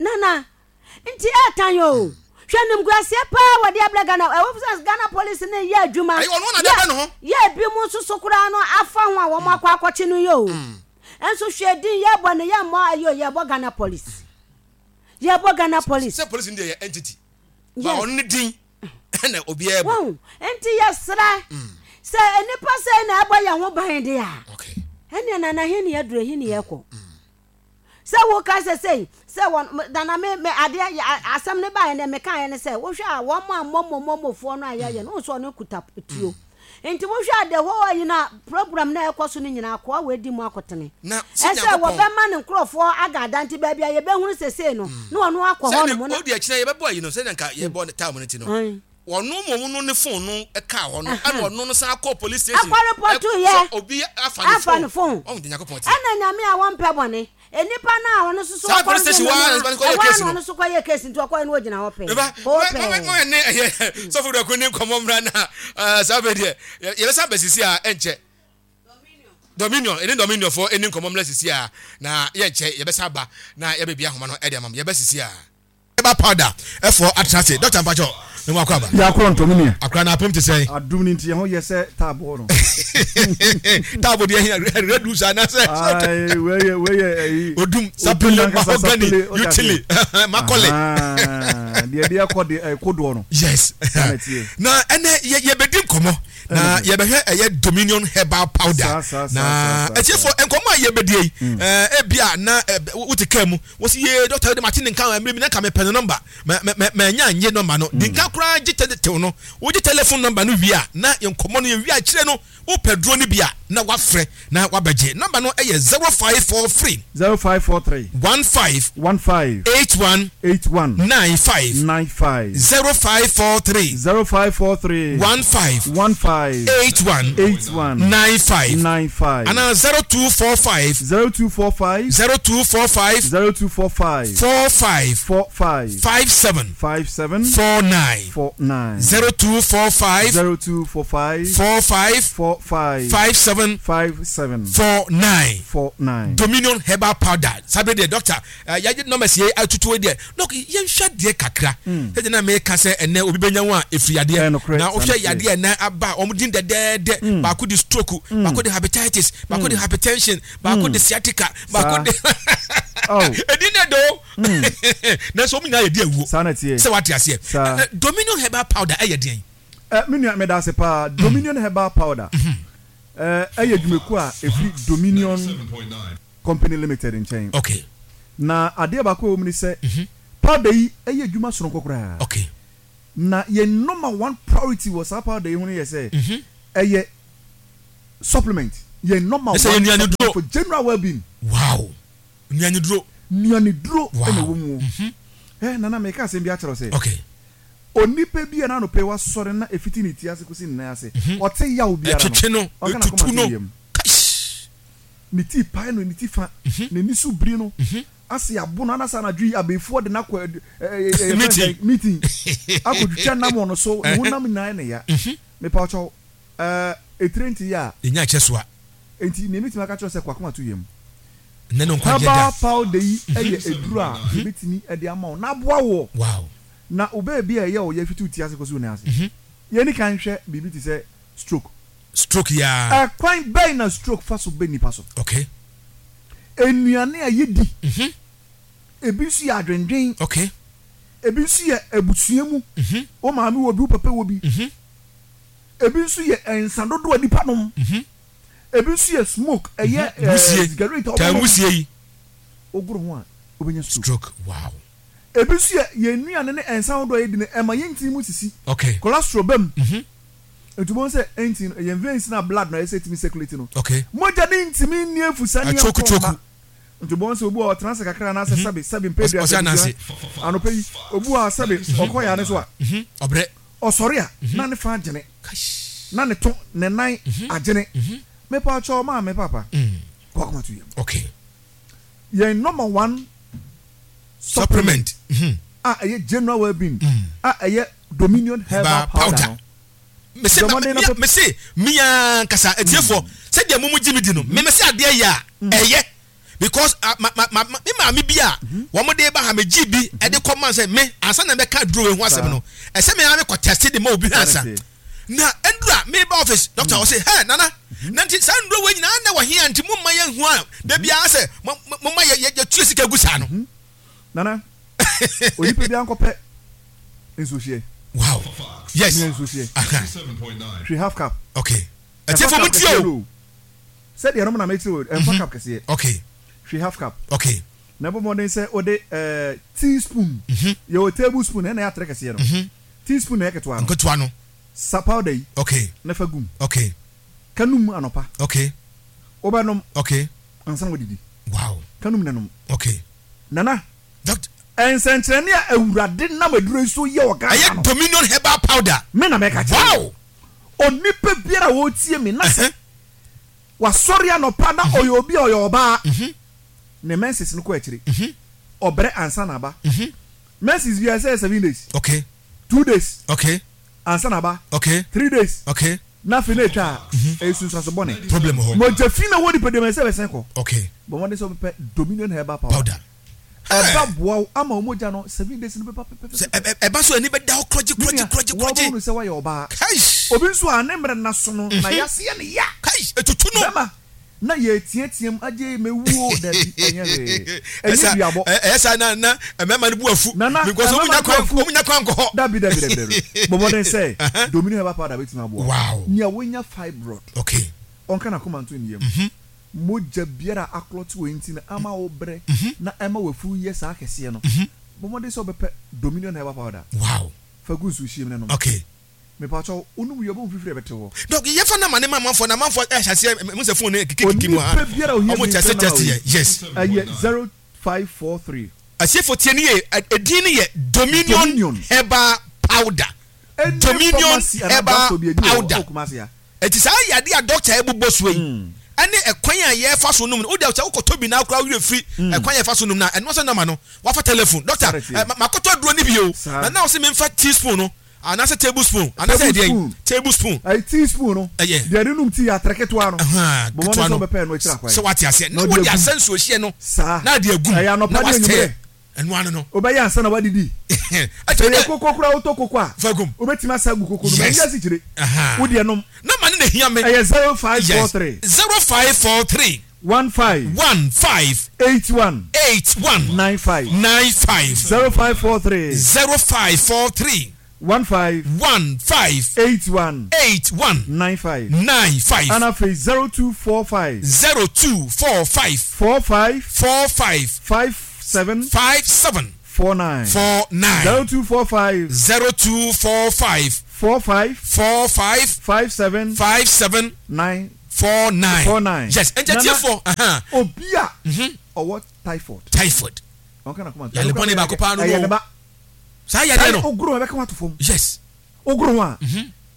Nana, Nti ɛtan o. Hwɛ animguaseɛ paa wɔde abrɛ Ghana. Ɛwɔ sɛ Ghana police no yɛ adwuma. Ɛyɛ ɔno na de abrɛ ne ho. Yɛ ebi mu nso so koraa no afa ho a wɔn akɔ akɔkye no yɛ o. Nso hwɛ din yɛbɔ no yɛmmɔ ayi o yɛbɔ Ghana police. Yɛbɔ Ghana police. Sɛ police no deɛ yɛ entity. Yes. Ba ɔno ne din ɛna obiara bɔ. Wɔn nti yɛsrɛ sɛ nnipa sɛ na ɛbɔ yɛn ho ban deɛ a. Okay. Ɛnneɛ nana he ne yɛduro he ne yɛkɔ. Sɛ wo ka sɛ sei, sɛ wɔn, nana me, me adeɛ, asɛm no baeɛ no mekaeɛ ne sɛ, wohwɛ a wɔn a momo momofoɔ no a yɛyɛ no, wohu sɛ ɔno kuta tuo. Nti wohwɛ a the whole ayi no a, program no a ɛkɔ so no nyinaa, akoa wei di mu akotene. Na sɛ Ɛsɛ Nyankopɔn. wɔbɛma ne nkorɔfoɔ aga ada, nti baabi a yɛbɛhunu sesei no, na ɔno akɔ Sɛdeɛ hɔ nom na. ɔdi akyire yɛbɛbɔ ayi no, sɛdeɛ nka yɛbɔ time no nti no, ɔno mmom no ne phone no kaa hɔ no, ɛna ɔno no san kɔɔ police station. Ɛkɔ repɔto yɛ. Sɛ obi afa ne Afa ne phone. Ɔhu deɛ Nyankopɔn te. Ɛna Nyame a wɔmpɛ bɔne. Nnipa no a ɔno nso so Saa ɔkɔ police station hɔ ara na no ɔkɔyɛ ɛhɔ ara case na no. ɔno nso kɔyɛ case nti ɔkɔyɛ no ɔgyina hɔ pɛɛ. Meba, Hoo mo pɛɛ. mo ne ɛyɛ sɔfo dɔko ne nkɔmɔ mmra na eh, saa bɛ deɛ yɛbɛsan bɛ sisi a ɛnkyɛ. Dominion, ɛne Dominion fo ɛni nkɔmɔ mmra sisi a na yɛnkyɛ yɛbɛsan ba na yɛbɛbi ahoma no ɛde ama mo yɛbɛ sisi a. Herbal powder ɛfoɔ atena ase. Doctor mpakyɛw me mu akɔ aba. Yɛ akorɔ ntɔ me nua. Akora na apem te sɛn. Adum no nti yɛn ho yɛ sɛ taaboo no. Taabo deɛ hia red roots anaasɛ. Ayi wei yɛ wei yɛ ɛyi. Odum sapele mahogany utili makɔle. Deɛ deɛ kɔ deɛ ɛkodoɔ no. Yes. Na ɛnɛ yɛ yɛbɛdi nkɔmɔ. Na yɛbɛhwɛ ɛyɛ Dominion herbal powder. Na atiefo nkɔmɔ a yɛbɛdi yi ebi a na wote kaa mu wosi yee dɔkta de mate ne nka mmerɛ bi na nka mepɛ ne nɔmba manya nye nɔmba no di nka koraa gye tew no wogye telephone nɔmba no wie a na nkɔmɔ no yɛwie akyerɛ no wopɛ duro no bi a na wafrɛ na wabɛgye nɔmba no ɛyɛ 0543 0543 15 15 81 81 95 95 0543 0543 15 15 81 81 95 95 anaa 0245 0245 0245 0245 45 45 57 57 49 49 0245 0245 45 45 57 57 49 49 Dominion herbal powder saa bere deɛ doctor eh, yɛagye numbers yɛ atutu yi deɛ dɔk yɛnhwɛ deɛ kakra sɛdeɛ na meka sɛ ɛnɛ obi bɛnya ho a ɛfiri yadeɛ Ɛnokorɛ, na saa wohwɛ na ɛteɛ. yadeɛ ɛnɛ aba a wɔn din dɛdɛɛdɛ baako de stroke baako de hepatitis baako de hypertension baako de sciatica baako Saa. de Oh. ɛdin dɛ do nanso wɔn nyinaa yɛ di awuo Saa na ɛteɛ. sɛ wate aseɛ Saa. Ɛ, ɛ, Dominion herbal powder ɛyɛ deɛn Ɛ, me nua meda ase paa. Dominion herbal powder. Ɛyɛ dwumakuo a ɛfiri Dominion Company Limited nkyɛn. Okay. Na adeɛ baako a ɛwɔ mu ne sɛ, powder yi yɛ adwuma sononko koraa. Okay. Na yɛn number one priority wɔ saa powder yi ho no yɛ sɛ, ɛyɛ supplement. Yɛn number one supplement for general well-being. Wow. Nnuaniduro. Nnuaniduro na ɛwɔ mu. Ɛ Nana meka asɛm bi akyerɛ wo sɛ. Okay. Onipa bi a n'anɔpa yi wasɔre na efiti ne ti ase kosi ne nan ase, ɔte yaw biara no, Ɛtwetwe no, ɔnka n'akoma etutu nto no. ne yam. Kaish! Ne ti pae no, ne ti fa, n'ani so biri no, ase abo no, anasa anadwo yi abeefoɔ de no akɔ ɛ ɛ ɛ yɛfrɛ no sɛn? Meeting. Akɔtwitwa nam wɔ no so, ne honam nyinaa yɛ no ya. Mepa wo kyɛw, ɛɛ etire nte yɛ a. Yɛnya akyɛ so a. Enti nea metumi aka akyerɛ wo sɛ kɔ akoma to yam. Nnɛ no nkwagyeɛ da. Herbal powder yi yɛ aduru a yɛbɛtumi de ama wo na aboa woɔ. Wow. Na wo baabi a ɛyɛ wo ya fiti wo ti ase kɔsi wo nan ase. Yɛnni kan nhwɛ biribi te sɛ stroke. Stroke yi ara. Ɛkwan bɛn na stroke fa so ba nnipa so? Okay. Nnuane a yɛdi. Ebi nso yɛ adwendwen. Okay. Ebi nso yɛ abusua mu. Wo maame wɔ bi, wo papa wɔ bi. Ebi nso yɛ nsa dodoɔ a nnipa nom. Ebi nso yɛ smoke, ɛyɛ Wusie, sigaret a taa wɔnom. wusie yi. Wogoro ho a, wobɛnya stroke. Stroke, wow. Ebi nso yɛ yɛn nnuane ne nsa ahodoɔ a yɛdi no, ɛma yɛn ntini mu sisi. Okay. Cholesterol ba mu. Nti wobɛhu sɛ ntini no, yɛn veins no a blood no a ɛsɛ sɛ ɛtumi circulate no, Okay. mogya no ntumi nni afusa ne Atwoku ɛnkɔ mma. twoku. Nti wobɛhu sɛ obi wɔ hɔ ɔtena ase kakra anaasɛ sɛbe sɛbe mpɛ Ɔsɛ aduasa ananse. abusua anɔpa yi, obi wɔ hɔ a sɛbe ɔkɔ yare so a, Ɔbrɛ. ɔsɔre a na ne fa agyene, na ne to, ne nan agyene. Mepa kyɛw maame papa, kɔ akoma to yam. Okay. Yɛn number one Supplement. a ɛyɛ general well-being a ɛyɛ Dominion herbal powder no. Mese Bɔ mmɔden na pɛ. mese me ankasa atiefoɔ sɛdeɛ mo mo gye me di no me mese adeɛ yɛ a ɛyɛ because ah, ma ma ma me maame bi a wɔn de ba ha me gye bi ɛde kɔ man sɛ me ansa na mɛka aduro wei ho asɛm no ɛsɛ me ara me kɔ test de ma obi hwɛ ansa na ndura me ba office doctor ɔse hɛ nana na nti saa nduro wei nyinaa na wɔ he a nti mo mma yɛn hu a da biara sɛ mo mo ma yɛ yɛ tue sika gu saa no. Nana, onipa biara nkɔpɛ nsuohyeɛ. Wow. Yes. Nua nsuohyeɛ. Hwɛ half cup. Okay. Ɛtiɛfo mo tie o. Sɛdeɛ ɛnom na mekyerɛ o, ɛmfa cup kɛseɛ. Okay. Hwɛ half cup. Okay. Na bɔ mmɔden sɛ wode ɛɛ teaspoon. Yɛwɔ table spoon ɛna ɛyɛ atere kɛseɛ no. Teaspoon na ɛyɛ ketewa no. Nketewa no. Sa powder yi. Okay. Na fa gum. Okay. Ka num anɔpa. Okay. Wobɛnom. Okay. Ansa na wadidi. Wow. Ka num na nom. Okay. Nana. Doctor. Nsɛnkyerɛnne a Awurade nam aduro yi so yɛ wɔ Ghana Ɛyɛ no. Dominion Herbal Powder. Me na mɛka kyerɛ wo. Wow. Onipa biara a ɔretie me na sɛ wasɔre anɔpa na ɔyɛ obi a ɔyɛ ɔbaa, ne menses no kɔ akyire, ɔbrɛ ansa na aba. Menses biara ɛsɛ yɛ 7 days. 2 days. Ansa na aba. 3 days. Na afei na etwa a, ɛyɛ sunsuanso bɔne. Problem wɔ hɔ. Mogya fi na ɛwɔ nipadua mu ɛsɛ ɛbɛsen kɔ. Bɔ mmɔden sɛ wobɛpɛ Dominion Herbal Powder. Powder. Ɛba boa wo ama wo mogya no 7 days no bɛba pɛpɛpɛpɛ. Sɛ ɛba so ani bɛda hɔ korɔgye Me korɔgye nua, korɔgye korɔgye. woabɛhunu sɛ woayɛ ɔbaa. Kaish! Obi nso a ne mmerɛ nna so no, na yase yɛ no ya. Kaish! Etutu no. Bɛma na yɛreteateam agye mewu o, dabi, ɛnyɛ hwee. Ɛnyɛ duabɔ. Ɛyɛ saa na na mmarima no bu afu. Nana, Because wɔn mmarima nya no bu kwan afu. wɔn nya kwan nkɔ hɔ. Dabi, dabi, dabi, dabi. Bɔ mmɔden sɛ Dominion Herbal Powder bɛtumi aboa wo. Wow. Nea wanya fibroid, ɔnka n'akoma nto ne yam. Mogya biara a aklɔte wɔ nti no ama wo brɛ na ɛma w'afuru yɛ saa kɛseɛ no, bɔ mmɔden sɛ wobɛpɛ Dominion Herbal Powder. Wow. Fa gu nsuo hyeɛ mu na nom. Mepakyɛw, wonom wie a, wobɛhu fifiri a ɛbɛte hɔ. Dɔk, yɛfa number no ma amanfoɔ na amanfoɔ ɛhyɛ aseɛ, mehu sɛ phone no kikikiki mu ha. Onipa biara a ohia Ɔmo bi tɛste mfrɛ number tɛste wei. yɛ, yes. Ɛyɛ 0543. Atiefo tie no yie, edin no yɛ Dominion Dominion. Herbal Powder. Any Dominion pharmacy anaa Herbal drugstore bi a ebi wɔ hɔ Powder. ɛwɔ Kumasi ha. Enti saa yadeɛ a dɔkta ɛbobɔ soɔ yi, ɛne ɛkwan a yɛfa so nom no, wodeɛ sɛ wokɔtɔ bi na koraa wo werɛ firi ɛkwan a yɛfa so nom no a, ɛno sɛ nɔma no, wafa telephone, dɔkta, Saa na ɛteɛ. makɔtɔ aduro no bi o, Saa. na na wose memfa teaspoon no, anaasɛ table spoon, anaasɛ Table ɛdeɛn, spoon. table spoon. Ɛyɛ teaspoon no, Ɛyɛ. deɛ yɛde nom tea, atere ketewa no, Ahaa, bɔ mmɔden ketewa sɛ no, wobɛpɛ ɛno akyiri akwan. sɛ wate aseɛ, Na na wode wode agum. asɛ nsuohyeɛ no, Saa. na ade agum, Ɛyɛ anɔpa na ne wastir. anwummerɛ. Ɛno ano no. Wobɛyɛ ansa na woadidi. Sɛ ɛyɛ koko koraa a, wotɔ koko a, Fa gum. wobɛtumi asa agu koko no mu. Yes. Ɛnyɛ asikyire. Ahaa. Wo deɛ nom. Number no na ehia me. Ɛyɛ 0543. Yes. 0543. 15. 15. 81. 81. 95. 95. 0543. 0543. 15. 15. 81. 81. 95. 95. Ɛna afei 0245. 0245. 45. 45. 57. 57. 49. 49. 0245. 0245. 45. 45. 57. 57. 9. 49. 49. Yes, ɛnkyɛ tiefoɔ. Obi a ɔwɔ typhoid. Typhoid. Ɔnka na kɔma. Yale bɔne baako paa no. Ɛyɛ ne ba. Saa yadeɛ no. Ogoro ho ɛbɛka ho ato fam. Yes. Ogoro ho a.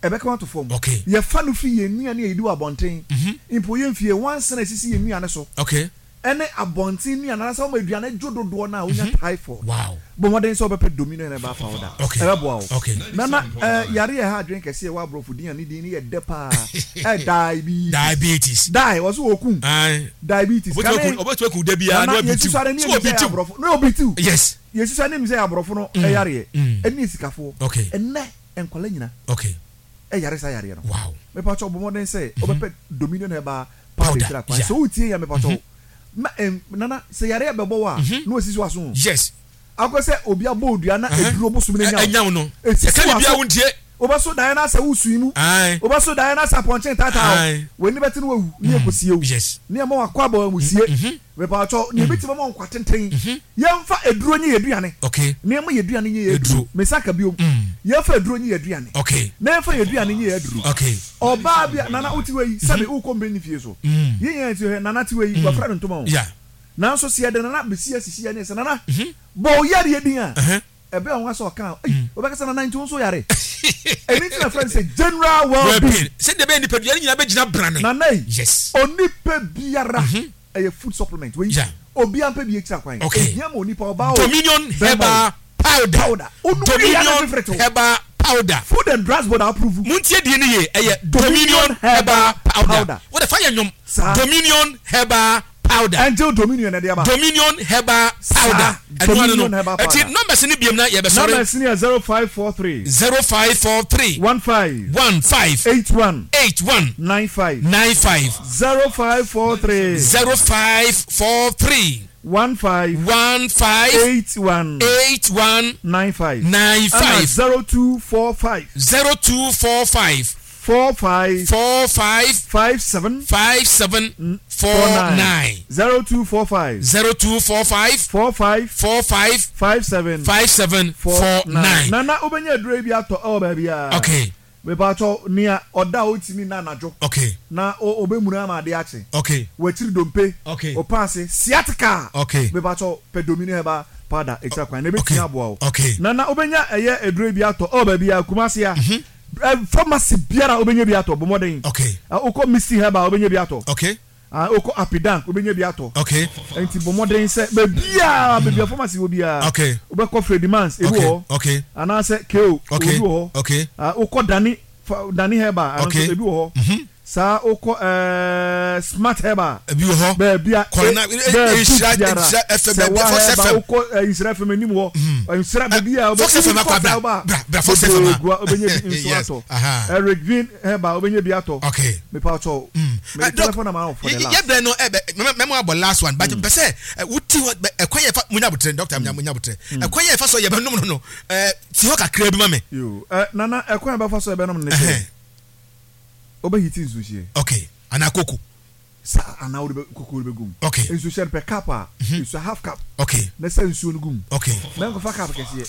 Ɛbɛka ho ato fam. Okay. Yɛfa no fi yɛn nnuane a yɛdi wɔ abɔnten. Mpo yɛn fie nwansena a esisi yɛn nnuane so. Okay. Ɛne abɔnten nnuane anaasɛ wɔma aduane dwo dodoɔ no a wonya typhoid. Wow. Bɔ mmɔden sɛ wobɛpɛ Dominion Herbal Powder. Okay. Ɛbɛboa wo. Okay. Nana, eh, yare a ɛha adwene kɛse a ɛwɔ aborɔfo din a ne din no yɛ dɛ paa. Eh, diabetes. Diabetes. Die, wɔso wɔkum. Aye. Diabetes. Kane. Ɔbɛtumi aku da biara na Nana, wabitiw. yɛsusua no ne So yɛnim sɛ ɛyɛ ɔbitiw. aborɔfo. Na ɔbitiw. Yes. Yɛsusua no nim sɛ ɛyɛ aborɔfo no yareɛ. Ɛne asikafoɔ. Okay. Ɛnnɛ, nkwadaa nyina. Okay. Ɛyare saa yareɛ no. Wow. Mepakyɛw bɔ mmɔden sɛ wobɛpɛ Dominion Herbal Powder akyiri akwan. Sɛ wotie yɛn mepakyɛw ma ɛn nana sɛ yareɛ bɛbɔ wo a na wasisi w'aso o. Yes. Akɔ sɛ obi abɔ wo dua na aduro bosom no anya wo. No. Esisi Yɛka biribiara w'aso. wontie. Wobɛso daeɛ na asɛ wosui mu. Aye. Wobɛso daeɛ na asɛ apɔnkye retaataa wo. Aye. W'ani bɛte na wawu na yɛkɔsie wo. Yes. Na yɛma wakɔ aba amusie. Mepakyɛw, nea ebetumi ama wo nkwa tenten, yɛmfa aduro nyɛ yɛn aduane, Okay. na yɛmma yɛn aduane nyɛ yɛn aduro. Aduro. Mesan ka bio, yɛmfa aduro nyɛ yɛn aduane, Okay. na yɛmfa yɛn aduane nyɛ yɛn aduro. Okay. Ɔbaa bi a, Nana wote wei, sɛbe wokɔ mpanin fie so, yɛn nyinaa te hɔ, Nana te wei, wafura ne ntoma o. Yeah. Nanso sɛ yɛde Nana besi asisi yɛn ani sɛ, Nana, bɔ wo yareɛ din a, ɛbɛyɛ nwanwa sɛ ɔka a, ei, wobɛka sɛ Nana nti wo nso woyare. Ɛno nti na yɛfrɛ no sɛ general well-being. Sɛdeɛ ɛbɛyɛ nipadua no nyinaa bɛgyina brane. Nana ei, Yes. onipa biara ɛyɛ food supplement wei, Yeah. obiara mpɛ bi akyiri akwan. Okay. Ɛhia ma onipa, ɔbaa o, Dominion bɛrima o. Herbal Powder. Powder. Onum wie a na Dominion fifiri te wo. Herbal Powder. Food and Drugs Board approve. Montie din no yie, ɛyɛ Dominion Dominion Herbal Herbal Powder. Powder. Wode fa yɛ nnwom. Saa. Dominion Herbal Powder. Angel Dominion na ɛde aba. Dominion Herbal Saa, Powder. Ɛno ano no. Dominion Herbal Ɛti Powder. numbers no biom na yɛbɛsɔre. Numbers no yɛ 0543. 0543. 15. 15. 81. 81. 95. 95. 0543. 0543. 15. 15. 81. 81. 95. 95. Ɛna 0245. 0245. 45. 45. 57. 57. 49. 0245. 0245. 45. 45. 57. 57. 49. Nana wobɛnya aduro yi bi atɔ ɛwɔ baabiara. Okay. Mepaatɔ nea ɔda a ɔntumi nna anadwo. Okay. Na ɔbɛmuna ama adeɛ akye. Okay. Wakyiri dompe. Okay. Ɔpaase sciatica. Okay. Mepaatɔ pɛ Domino herbal powder ɛkyira kwan na ɛbɛtumi aboa wo. Okay. Nana wobɛnya ɛyɛ aduro yi bi atɔ ɛwɔ baabiara Kumasi a. Pharmacy biara wobɛnya bi atɔ, bɔ mmɔden. Okay. Wokɔ Misty Herbal wobɛnya bi atɔ. Okay. Wokɔ Apidank wobɛnya bi atɔ. Okay. Nti bɔ mmɔden sɛ baabiara baabi a pharmacy wɔ biara. Okay. Wobɛkɔ Fredimans ebi wɔ hɔ. Okay. Anaasɛ KO Okay. ebi wɔ hɔ. Okay. Wokɔ Dani Dani Herbal ɛno Okay. nso ebi wɔ hɔ. Saa wokɔ ɛɛ Smart Herbal. Ebi wɔ hɔ. Baabi a Kɔrɔ na baabi Nhyira biara Nhyira FM sɛ baabi wa Fox Herbal FM. wokɔ eh, Nhyira FM anim hɔ. Nhyira baabi a Fox wobɛ FM akɔ Fox bra Herbal bra bra Fox FM bebree a. gua wobɛnya bi nso Yes. atɔ. Aha. Eric Green Herbal wobɛnya bi atɔ. Okay. Mepa wo kyɛw. Mede Doc, telephone number ama wo for the last. yɛ brɛ no ɛ bɛ mɛmɛ abɔ last one but pɛ sɛ wuti hɔ ɛkwan yɛ fa munya abotrɛ doctor munya munya abotrɛ ɛkwan yɛ fa so yɛ bɛ nom no no ɛ si hɔ kakra bi ma mi. Yo ɛ nana ɛkwan yɛ bɛ fa so yɛ bɛ nom no ne sɛ. Wobɛ hiti nsuhyeɛ. Okay, anaa koko. Saa anaa wode bɛ koko wode bɛ gum. Okay. Nsuhyeɛ no pɛ cup a. Mm-hmm. Nsuo half cup. Okay. Na sɛ nsuo no gum. Okay. Mɛ nkɔfa cup kɛseɛ.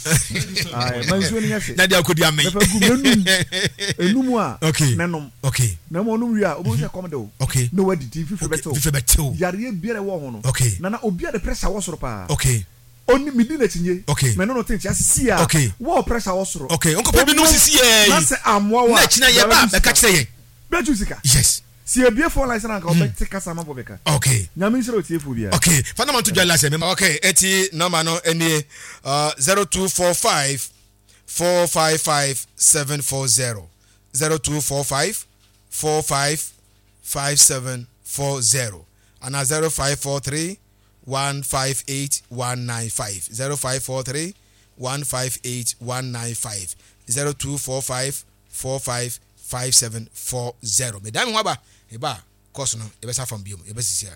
Ayi ma nsuo no nyɛ hye. Na deɛ akɔdi amɛn. Mɛfa gum na num. Enum a. Okay. Na nom. Okay. Na mo nom wie a obi sɛ kɔm de o. Okay. Na wadidi fifiri bɛ tew. Fifiri bɛ tew. Yareɛ biara ɛwɔ ho no. Okay. Nana obi a de pressure wɔ soro paa. Okay. Ɔni medi n'akyi nye. Okay. Mɛ ne no te nkyɛn sisi a. Okay. Wɔ pressure wɔ soro. Okay. Nkɔpɛ bi nom sisi yɛ. Na sɛ amoa wa. Na akyi na yɛ ba bɛka kyerɛ yɛn. Bɛtu sika. Yes. Si ebie phone lines na nka ɔbɛ te kasa ama bɔ bɛka. Okay. Nyame nhyira otiefo biara. Okay. Fa number to dwa last. Okay. Eti number no enie 0245 455 740 0245 45 5740 ana 0543 158 195 0543 158 195 0245 45 5740 Medan me ho aba, meba a, course no yɛbɛsa fam biom, yɛbɛsisi a.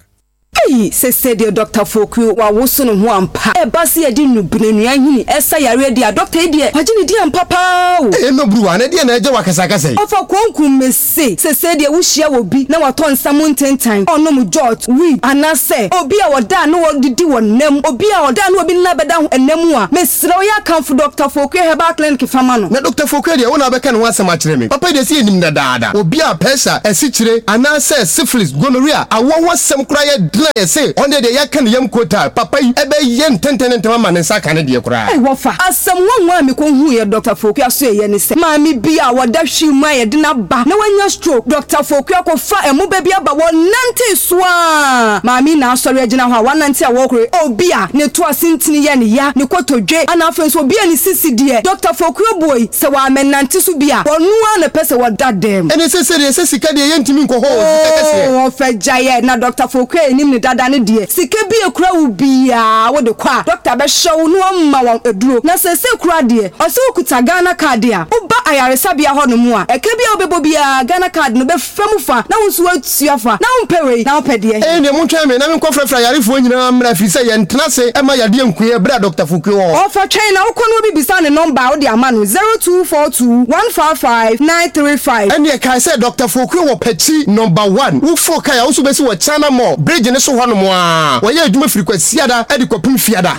Ei! Sesei deɛ Dɔkta Fokuo wawoso ne ho ampa. Ɛba sɛ yɛde nnubena nnua nhini ɛsa yareɛ deɛ a, dɔkta yi deɛ wagye ne din ampa paa o. Ei ɛnɔ Bruwa, na ɛdeɛn na ɛgye wo akasakasa yi? Ɔfa konkum mese, sesei deɛ wohyia obi na watɔ nsa mu ntentan, ɔnom jot, weed, anaasɛ obi a ɔda a na ɔdidi wɔ nna mu, obi a ɔda a na obi nna bɛda ho nna mu a, mesrɛ wo yɛ akamfo Dɔkta Fokuo Herbal Clinic fa ma no. Na Dɔkta Fokuo deɛ, wo na wobɛka ne ho asɛm akyerɛ me. Papa yi deɛ sɛ yɛnim no dadaada. Obi a pɛsa, asikyire, anaasɛ syphilis, gonorrhea, awoɔ ho asɛm koraa yɛ den a yɛse ɔno deɛ deɛ yɛaka ne yam kotaa. Papa yi bɛyɛ ntɛntɛn ne ntɛm ama ne nsa aka ne deɛ koraa. Ei wɔfa! Asɛm nwanwa a mekɔhuuiɛ Dɔkta Fokuo asoɛeɛ ne sɛ, maame bi a ɔda hwii mu a yɛde no aba na wanya stroke, Dɔkta Fokuo akɔfa ɛmo ba bi aba, wɔnantee so ara, maame yi na asɔre agyina hɔ a wanante a wɔrekore, obi a ne to ase ntini yɛ ne ya, ne kotodwe, ana afei nso obi a ne sisi deɛ, Dɔkta Fokuo boi. Sɛ wɔammɛnante so bi a, wɔno ara na ɛpɛ sɛ wɔda dɛm. Ɛne sɛ sɛdeɛ sɛ sika deɛ yɛntumi nkɔ hɔ o, sika kɛseɛ. Oo ɔfɛ gyaeɛ na Dɔkta Foku a yɛnim no dada no deɛ, sika bi a ɛkura wo biara wode kɔ a, dɔkta bɛhwɛ wo na wama wo aduro. Na seesei koraa deɛ, ɔse wokuta Ghana card a, woba ayaresabea hɔnom a, ɛka bi a wobɛbɔ biara Ghana card no bɛfa mu fa na wo nso woatua fa. Na wompɛ wei na wopɛ deɛ he? Ɛnneɛ montwɛn me na menkɔfrɛfrɛ ayarefoɔ nyinaa mmra, ɛfiri sɛ yɛntena ase mma yadeɛ nku yɛn berɛ a Dɔkta Foku wɔ hɔ. Ɔfa twɛn na wokɔ na obi bisa ne nɔmba a wode ama no, 0242 155 935. Ɛnneɛ kae sɛ Dɔkta Foku wɔ Pakyi Nɔmba One. Woforo kae a, wo nso wobɛsi wɔ China Mall bridge no so hɔnom ara. Wɔyɛ adwuma firi Kwasiada de kɔpem Fiada.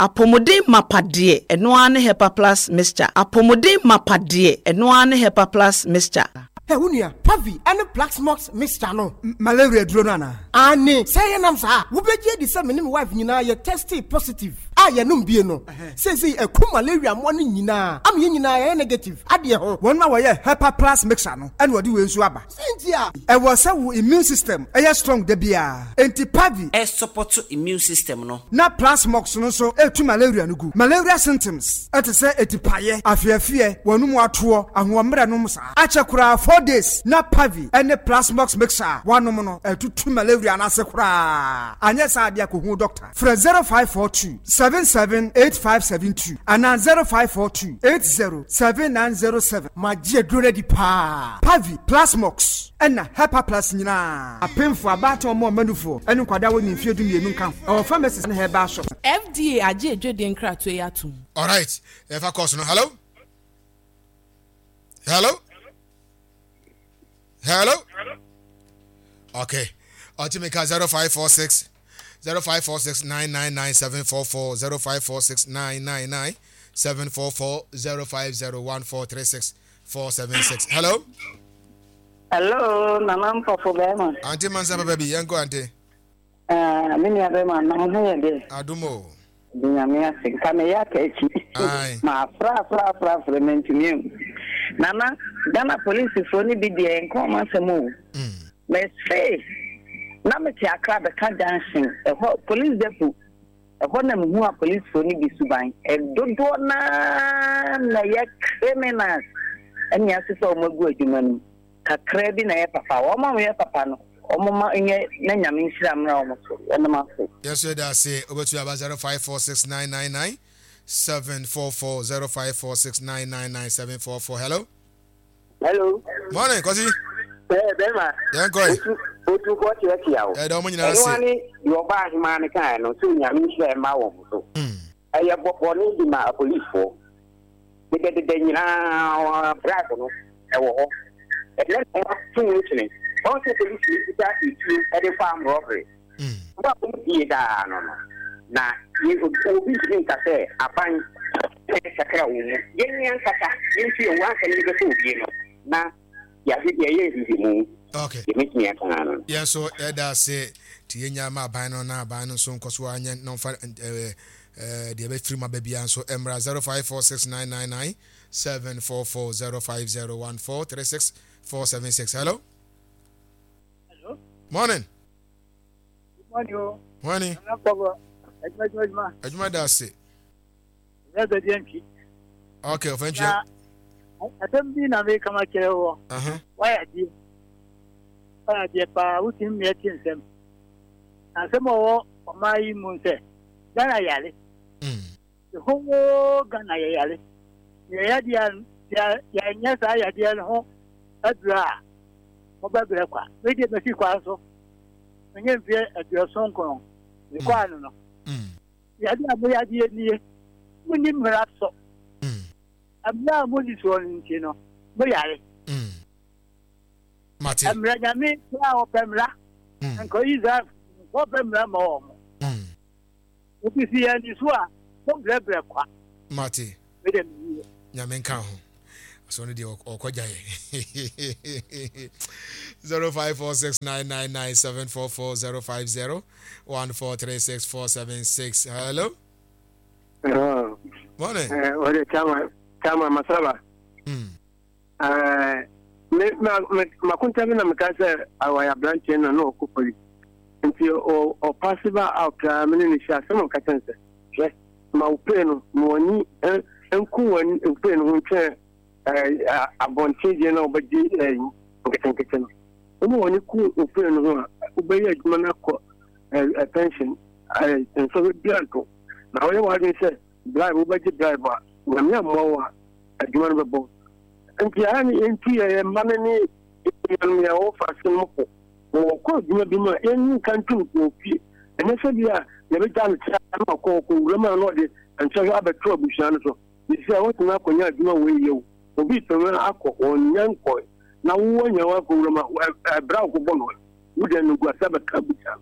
Apɔmuden mapa deɛ, ɛno ara ne Hepa Plus Mixture. Apɔmuden mapa deɛ, ɛno ara ne Hepa Plus Mixture. Hɛ wo nua, Pavi ne Plaxmox mixture no, malaria duro no anaa? Aane, sɛ ɛyɛ nam saa a, wobɛgye adi sɛ me ne me wife nyinaa yɛ testee positive a yɛnom bie no, seesei aku malaria mmoa no nyinaa ama yɛn nyinaa yɛayɛ negative adeɛ ho. Wɔn a wɔyɛ Hepa Plus mixture no na wɔde wei nso aba. Sɛ nti a. Ɛwɔ sɛ wo immune system yɛ strong da biara, enti Pavi. Ɛsupɔto immune system no. Na Plasmox no nso ɛtu malaria no gu. Malaria symptoms te sɛ atipaeɛ, afeafeɛ, w'anum atoɔ, ahoɔmmerɛ nom saa. Akyɛ koraa 4 days na Pavi ne Plasmox mixture a woanom no atutu malaria no ase koraa. Anyɛ saa deɛ kɔhu doctor. Frɛ 0542 77 8572 anaa 0542 80 7907. Magye aduro no adi paa. Pavi, Plasmox, ɛna Hepaplus nyinaa. Apemfo, abaatan, ɔmo a ɔma nufoɔ, ɛne nkwadaa a wɔnni mfeɛ 12 nka ho. Ɛwɔ pharmacies ne herbal shops. FDA agye adwadie nkratoɔ yi atom. Alright, yɛfa course no. Hello? Hello? Hello? Okay. Ɔtumi ka 0546 0546 999 744 0546 999 744 0501 436 476. Hello? Hello, Nana Mpɔfo bɛrima. Ante Mansa papa bi, yɛnkɔ ante. Ah, me nua bɛrima, na mo ho yɛ dɛ. Adom o. De nyame ase, nka meyɛ aka akyi. Ma afra afra afra afra mantumi ahu. Nana, Ghana polisifoɔ no bi deɛ nka wɔn asɛm o. Mm. Mese, na mete Accra bɛka junction, ɛhɔ police depot. Ɛhɔ na mehu apolisifoɔ no bi suban. Dodoɔ no ara na ɛyɛ criminals ɛne asesa wɔn agu adwuma no mu. Kakraa bi na ɛyɛ papa. Wɔn a wɔyɛ papa no, wɔn ma nyɛ na Nyame nhyira mmra wɔn so. Yɛnom ase. Yɛn nso yɛda ase. Wobɛtumi aba 0546999744 0546999744. Hello. Hello. Morning, Kwasi. Ɛɛ bɛrima. Yɛn kɔ yi. Otu otu kɔ kyerɛkyerɛ o. Ɛda wɔn nyinaa ase. Ɛno ane deɛ ɔba ahemaa no kaeɛ no sɛ onyame nhyira mma wɔn so. Hmm. Ɛyɛ bɔne di ma apolisifoɔ. Dedɛdedɛ nyinaa bribe no ɛwɔ hɔ. Ɛnɛ na wɔato mu kyene. Wɔn sɛ polisi ni kuta etuo ɛde kɔ arm robbery. Hmm. Wɔn a wɔn die daa no no na obi ntumi nka sɛ aban Sakra wo mu. Yɛn ankasa yɛntu yɛn ho ansa na yɛbɛkɔ obie no na yɛahwɛ deɛ ɛyɛ nhwehwɛmu. Okay. Deɛ mɛtumi aka ara no. Yɛn nso yɛda ase nti yɛnya ma aban no na aban no nso nkɔ so anyɛ na ɔmfa ɛɛ ɛɛ deɛ ɛbɛfiri mu aba biara nso mmra 054699 744 050143 476. Hello. Hello. Morning. Good morning. Oh. Morning. Adwuma da ase. Ɛnyɛ bɛdeɛ ntwi. Ok, ɔfɛ ntwi. Na asɛm bi na meka ma kyerɛ wɔ. Wayɛ adeɛ. Wayɛ adeɛ paa, wotumi mmeɛ te nsɛm. Na asɛm a ɔwɔ ɔman yi mu sɛ, Ghana yare. Mm. The whole Ghana yɛ yare. Yɛ yadeɛ a, yɛnyɛ saa yadeɛ no ho aduro a. Mobɛbrɛ kwa. Me deɛ masi kwan so. Menyɛ mfeɛ 79. Mekɔ ano no. Yadeɛ a moyadeɛ nie. Monni mmara so. Mmara a monni soɔ no nti no, moyare. Mate. Mmara Nyame koraa ɔpɛ mmara. Nka Israel ɔpɛ mmara ma wɔn. Nti sɛ yɛanni so a, mobrɛbrɛ kwa. Mate. Me deɛ mewie. Nyame nka ho. Asɔ no deɛ ɔkɔgya yɛ. 0546999744 050 1436476. Hello. Hello. Morning. Ɔde chama chama masaba. Me ma me makonta bi na meka sɛ awayɛ aberanteɛ na na ɔkɔ poli nti ɔpaase ba out a me ne no hyia asɛm a ɔka kyerɛ no sɛ hwɛ ma wo pay no ma w'ani nku w'ani pay no ho ntwɛn abɔnten deɛ na wobɛgye nketenkete no woma w'ani ku wo pay no ho a wobɛyɛ adwuma no akɔ pension nsɔhwɛ biara nto na woyɛ w'adwene sɛ bribe wobɛgye bribe a nyame ammoa wo a adwuma no bɛbɔ nti ayɛ ne yɛntu yɛ yɛ mma no ne nuanom yɛ wɔfa ase no po na wɔkɔ adwuma bi mu a yɛnyi nka ntom wɔ fie ɛnyɛ sɛ bi a yɛbɛgya no kyerɛ na ɔkɔ ɔkɔ wura mu a na ɔde nsɔhwɛ abɛto abusua no so sɛ wɔtumi akɔnya adwuma wɔ yɛ o obi tumi akɔ wɔnya nkɔe na wowɔ nya wakɔ wura mu a ɛbrɛ a wokɔbɔ no wode no gu ase abɛka abusua no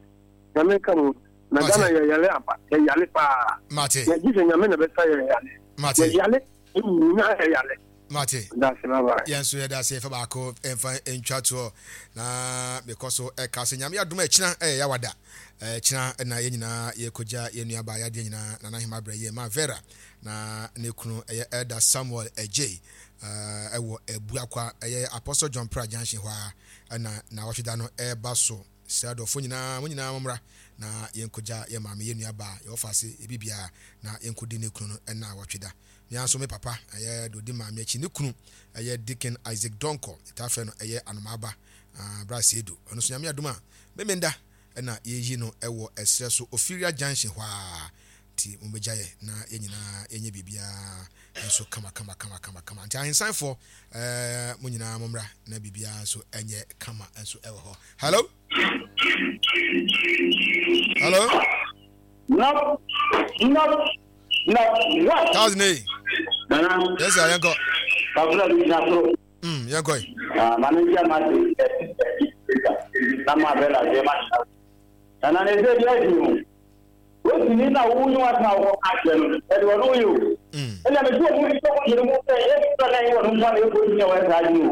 nyame nka mo na Ghana yɛyare aba yɛyare paa mate yɛgye sɛ nyame na bɛsa yɛyare mate yɛyare nyinaa yɛyare mate dase bye bye yɛn nso yɛda ase yɛfa baako mfa ntwa toɔ na mekɔ so ɛka sɛ nyame adom a ɛkyina ɛyɛ yawada ɛkyina na yɛn nyinaa yɛkɔgya yɛn nua baa yadeɛ nyinaa nana hema brɛ yɛ ma Vera na ne kunu ɛyɛ Elder Samuel Adjei ɛwɔ Abuakwa ɛyɛ Apostle John Pra Junction hɔ a ɛna na wɔtweda no ɛba so Srɛ adɔfoɔ nyinaa, mo nyinaa mommra na yɛnkɔgya yɛn maame, yɛn nuabaa, yɛn wɔfaase, yɛn biribiara, na yɛnkɔdi ne kunu no nnawɔtwe da. Me ara nso me papa, ɛyɛ deɛ ɔdi maame akyi, ne kunu ɛyɛ Deacon Isaac Donkor, yɛtaa frɛ no ɛyɛ Anomaaba, ah, Bra Seidu. Ɔno nso Nyame adom a, Memenda na yɛyi no wɔ ɛserɛ so, Ofiria Junction hɔ ara. Nti mommɛgya yɛ na yɛn nyinaa yɛnyɛ biribiara nso kama kama kama kama kama. Nti ahensanfoɔ eh, mo nyinaa mommra na biribiara nso ɛnyɛ kama nso ɛwɔ hɔ. Hello? Hello? No, no, no, what? Thousand eight. Nana. Yes, sir, yɛnkɔ. Kabula bi gyina soro. Mm, yɛnkɔ yi. Ah, maame nkyɛn ma se ɛti ɛti na ma bɛ la jɛ ma. Nana ne se bi adi o. Wotumi na wo ne w'asɛm a wokɔka akyerɛ no, ɛde wɔn yɛ o. Ɛnna mese wɔn mu sɛ wɔn yere mu sɛ yɛfrɛ na ɛnyɛ wɔn nko na ɛkɔ gyina wɔn saa adwene o.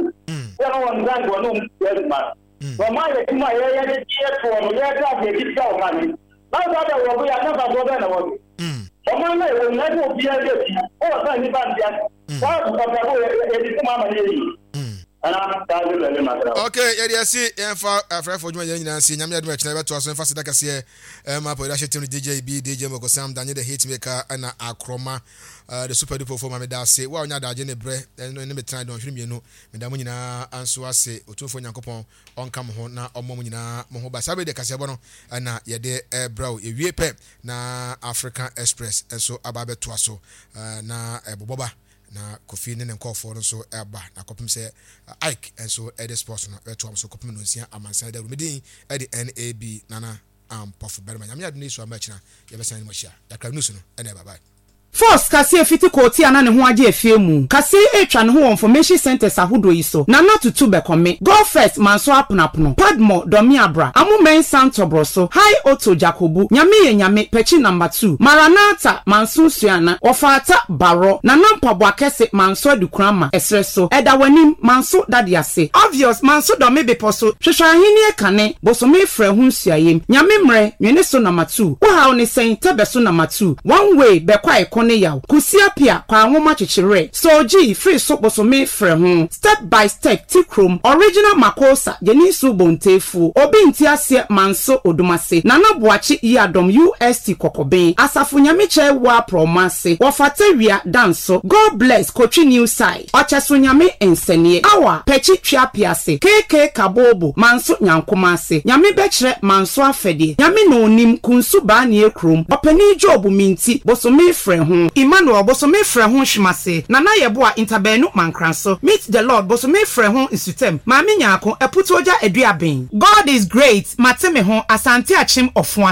Sɛ no wɔn nsa nka wɔn mu yɛ adwuma no. Na wɔn ayɛ adwuma a yɛyɛ de gye yɛ toɔ no, yɛtra ase yɛgye tua wɔn ka no. Na saa bɛ wɔ bo yɛ asafafoɔ bɛn na wɔde. Ɔman no a ɛwɔ nyinaa sɛ obiara de atua, wowɔ sɛ nnipa nte ase. Saa ɔbrabɔ yɛde sɛ mo ama no yɛ yie. Ok, yɛde asi yɛmfa afrɛfo dwuma yɛn nyinaa nsi nyame adom ɛkyena yɛbɛtoa so mfa seda kɛseɛ ɛma pɔyɛda hyɛ team no DJ B, DJ Moko Sam, Danye the Hit Maker ɛna Akrɔma uh, the Super Duper fo ma meda ase wo a wonya adagye ne berɛ ɛne me tena dɔnhwere mmienu meda mo nyinaa nso ase Otumfoɔ Nyankopɔn ɔnka mo ho na ɔmmɔ mo nyinaa mo ho ba saa bere deɛ kaseɛbɔ no ɛna yɛde ɛbrɛ wo yɛwie pɛ na African Express nso aba abɛtoa so na ɛbobɔba Na Kofi ne ne nkurɔfoɔ no nso ba, na kɔpem sɛ Ike nso de sports no bɛtoa mo so kɔpem nonsia amansan dawuro. Me din de NAB Nana Ampɔfo Barima. Nyame adom ne Yesu amma akyina yɛbɛsan ne mo ahyia. Yɛakra news no ɛna ɛba. Bye. Force kaseɛ fiti koote a na ne ho agye afie mu. Kaseɛ yi retwa ne ho wɔ information centres ahodoɔ yi so, Nana Tutu Bɛkɔme, Go First Manso Aponapono, Padmore Dɔmeabra, Amo Mensah Ntɔbrɔso, High Otto Jakobu, Nyame yɛ Nyame, Pɛkyi Number 2, Maranatha Manso Suana, Wɔfaata Barɔ, Nana Mpaboa Kɛse Manso Adukurama, Ɛserɛ so, Ɛda W'anim, Manso Dade Ase, Obvious, Manso Dɔme Bepɔ so, Hwehwɛ Ahennie Kane, Bosome Frɛ Ho Nsuayem, Nyame Mmerɛ, Nwene So Nama Tu, Wo Haw Ne Sɛn, Tɛbɛ So Nama Tu, One Way, Bɛkɔ A Ɛko Ne Yaw, Kusi Apia, Kwaa Nwoma Kyekye Werɛ, Soul G, Firi So Bosome Frɛ Ho, Step by Step, Ti Krom, Original Makosa, Gyeninsu Bontefuo, Obi. Nti Aseɛ Manso Odumase, Nana Boakye Yiadom UST Kɔkɔben, Asafo Nyamekyɛ Waa Prɔmase, Wɔfata Wia Danso, God Bless Kotwi New Side, Ɔkyɛso Nyame Nsɛneɛ, Awa Pɛkyi Tweapease, KK Kabobo Manso Nyankomase, Nyame Bɛkyerɛ Manso Afɛdeɛ, Nyame Na Onim, Kunsu Baanie Kurom, Ɔpanin Job Minti, Bosome Frɛ Ho, Emmanuel Bosome Frɛ Ho Hwemase, Nana Yeboah Ntabaanu Mankranso, Meet the Lord Bosome Frɛ Ho Nsutam, Maame Nyarko, Aputuogya Aduaben. God is great, mate me ho, Asante Akyem Ɔfoa.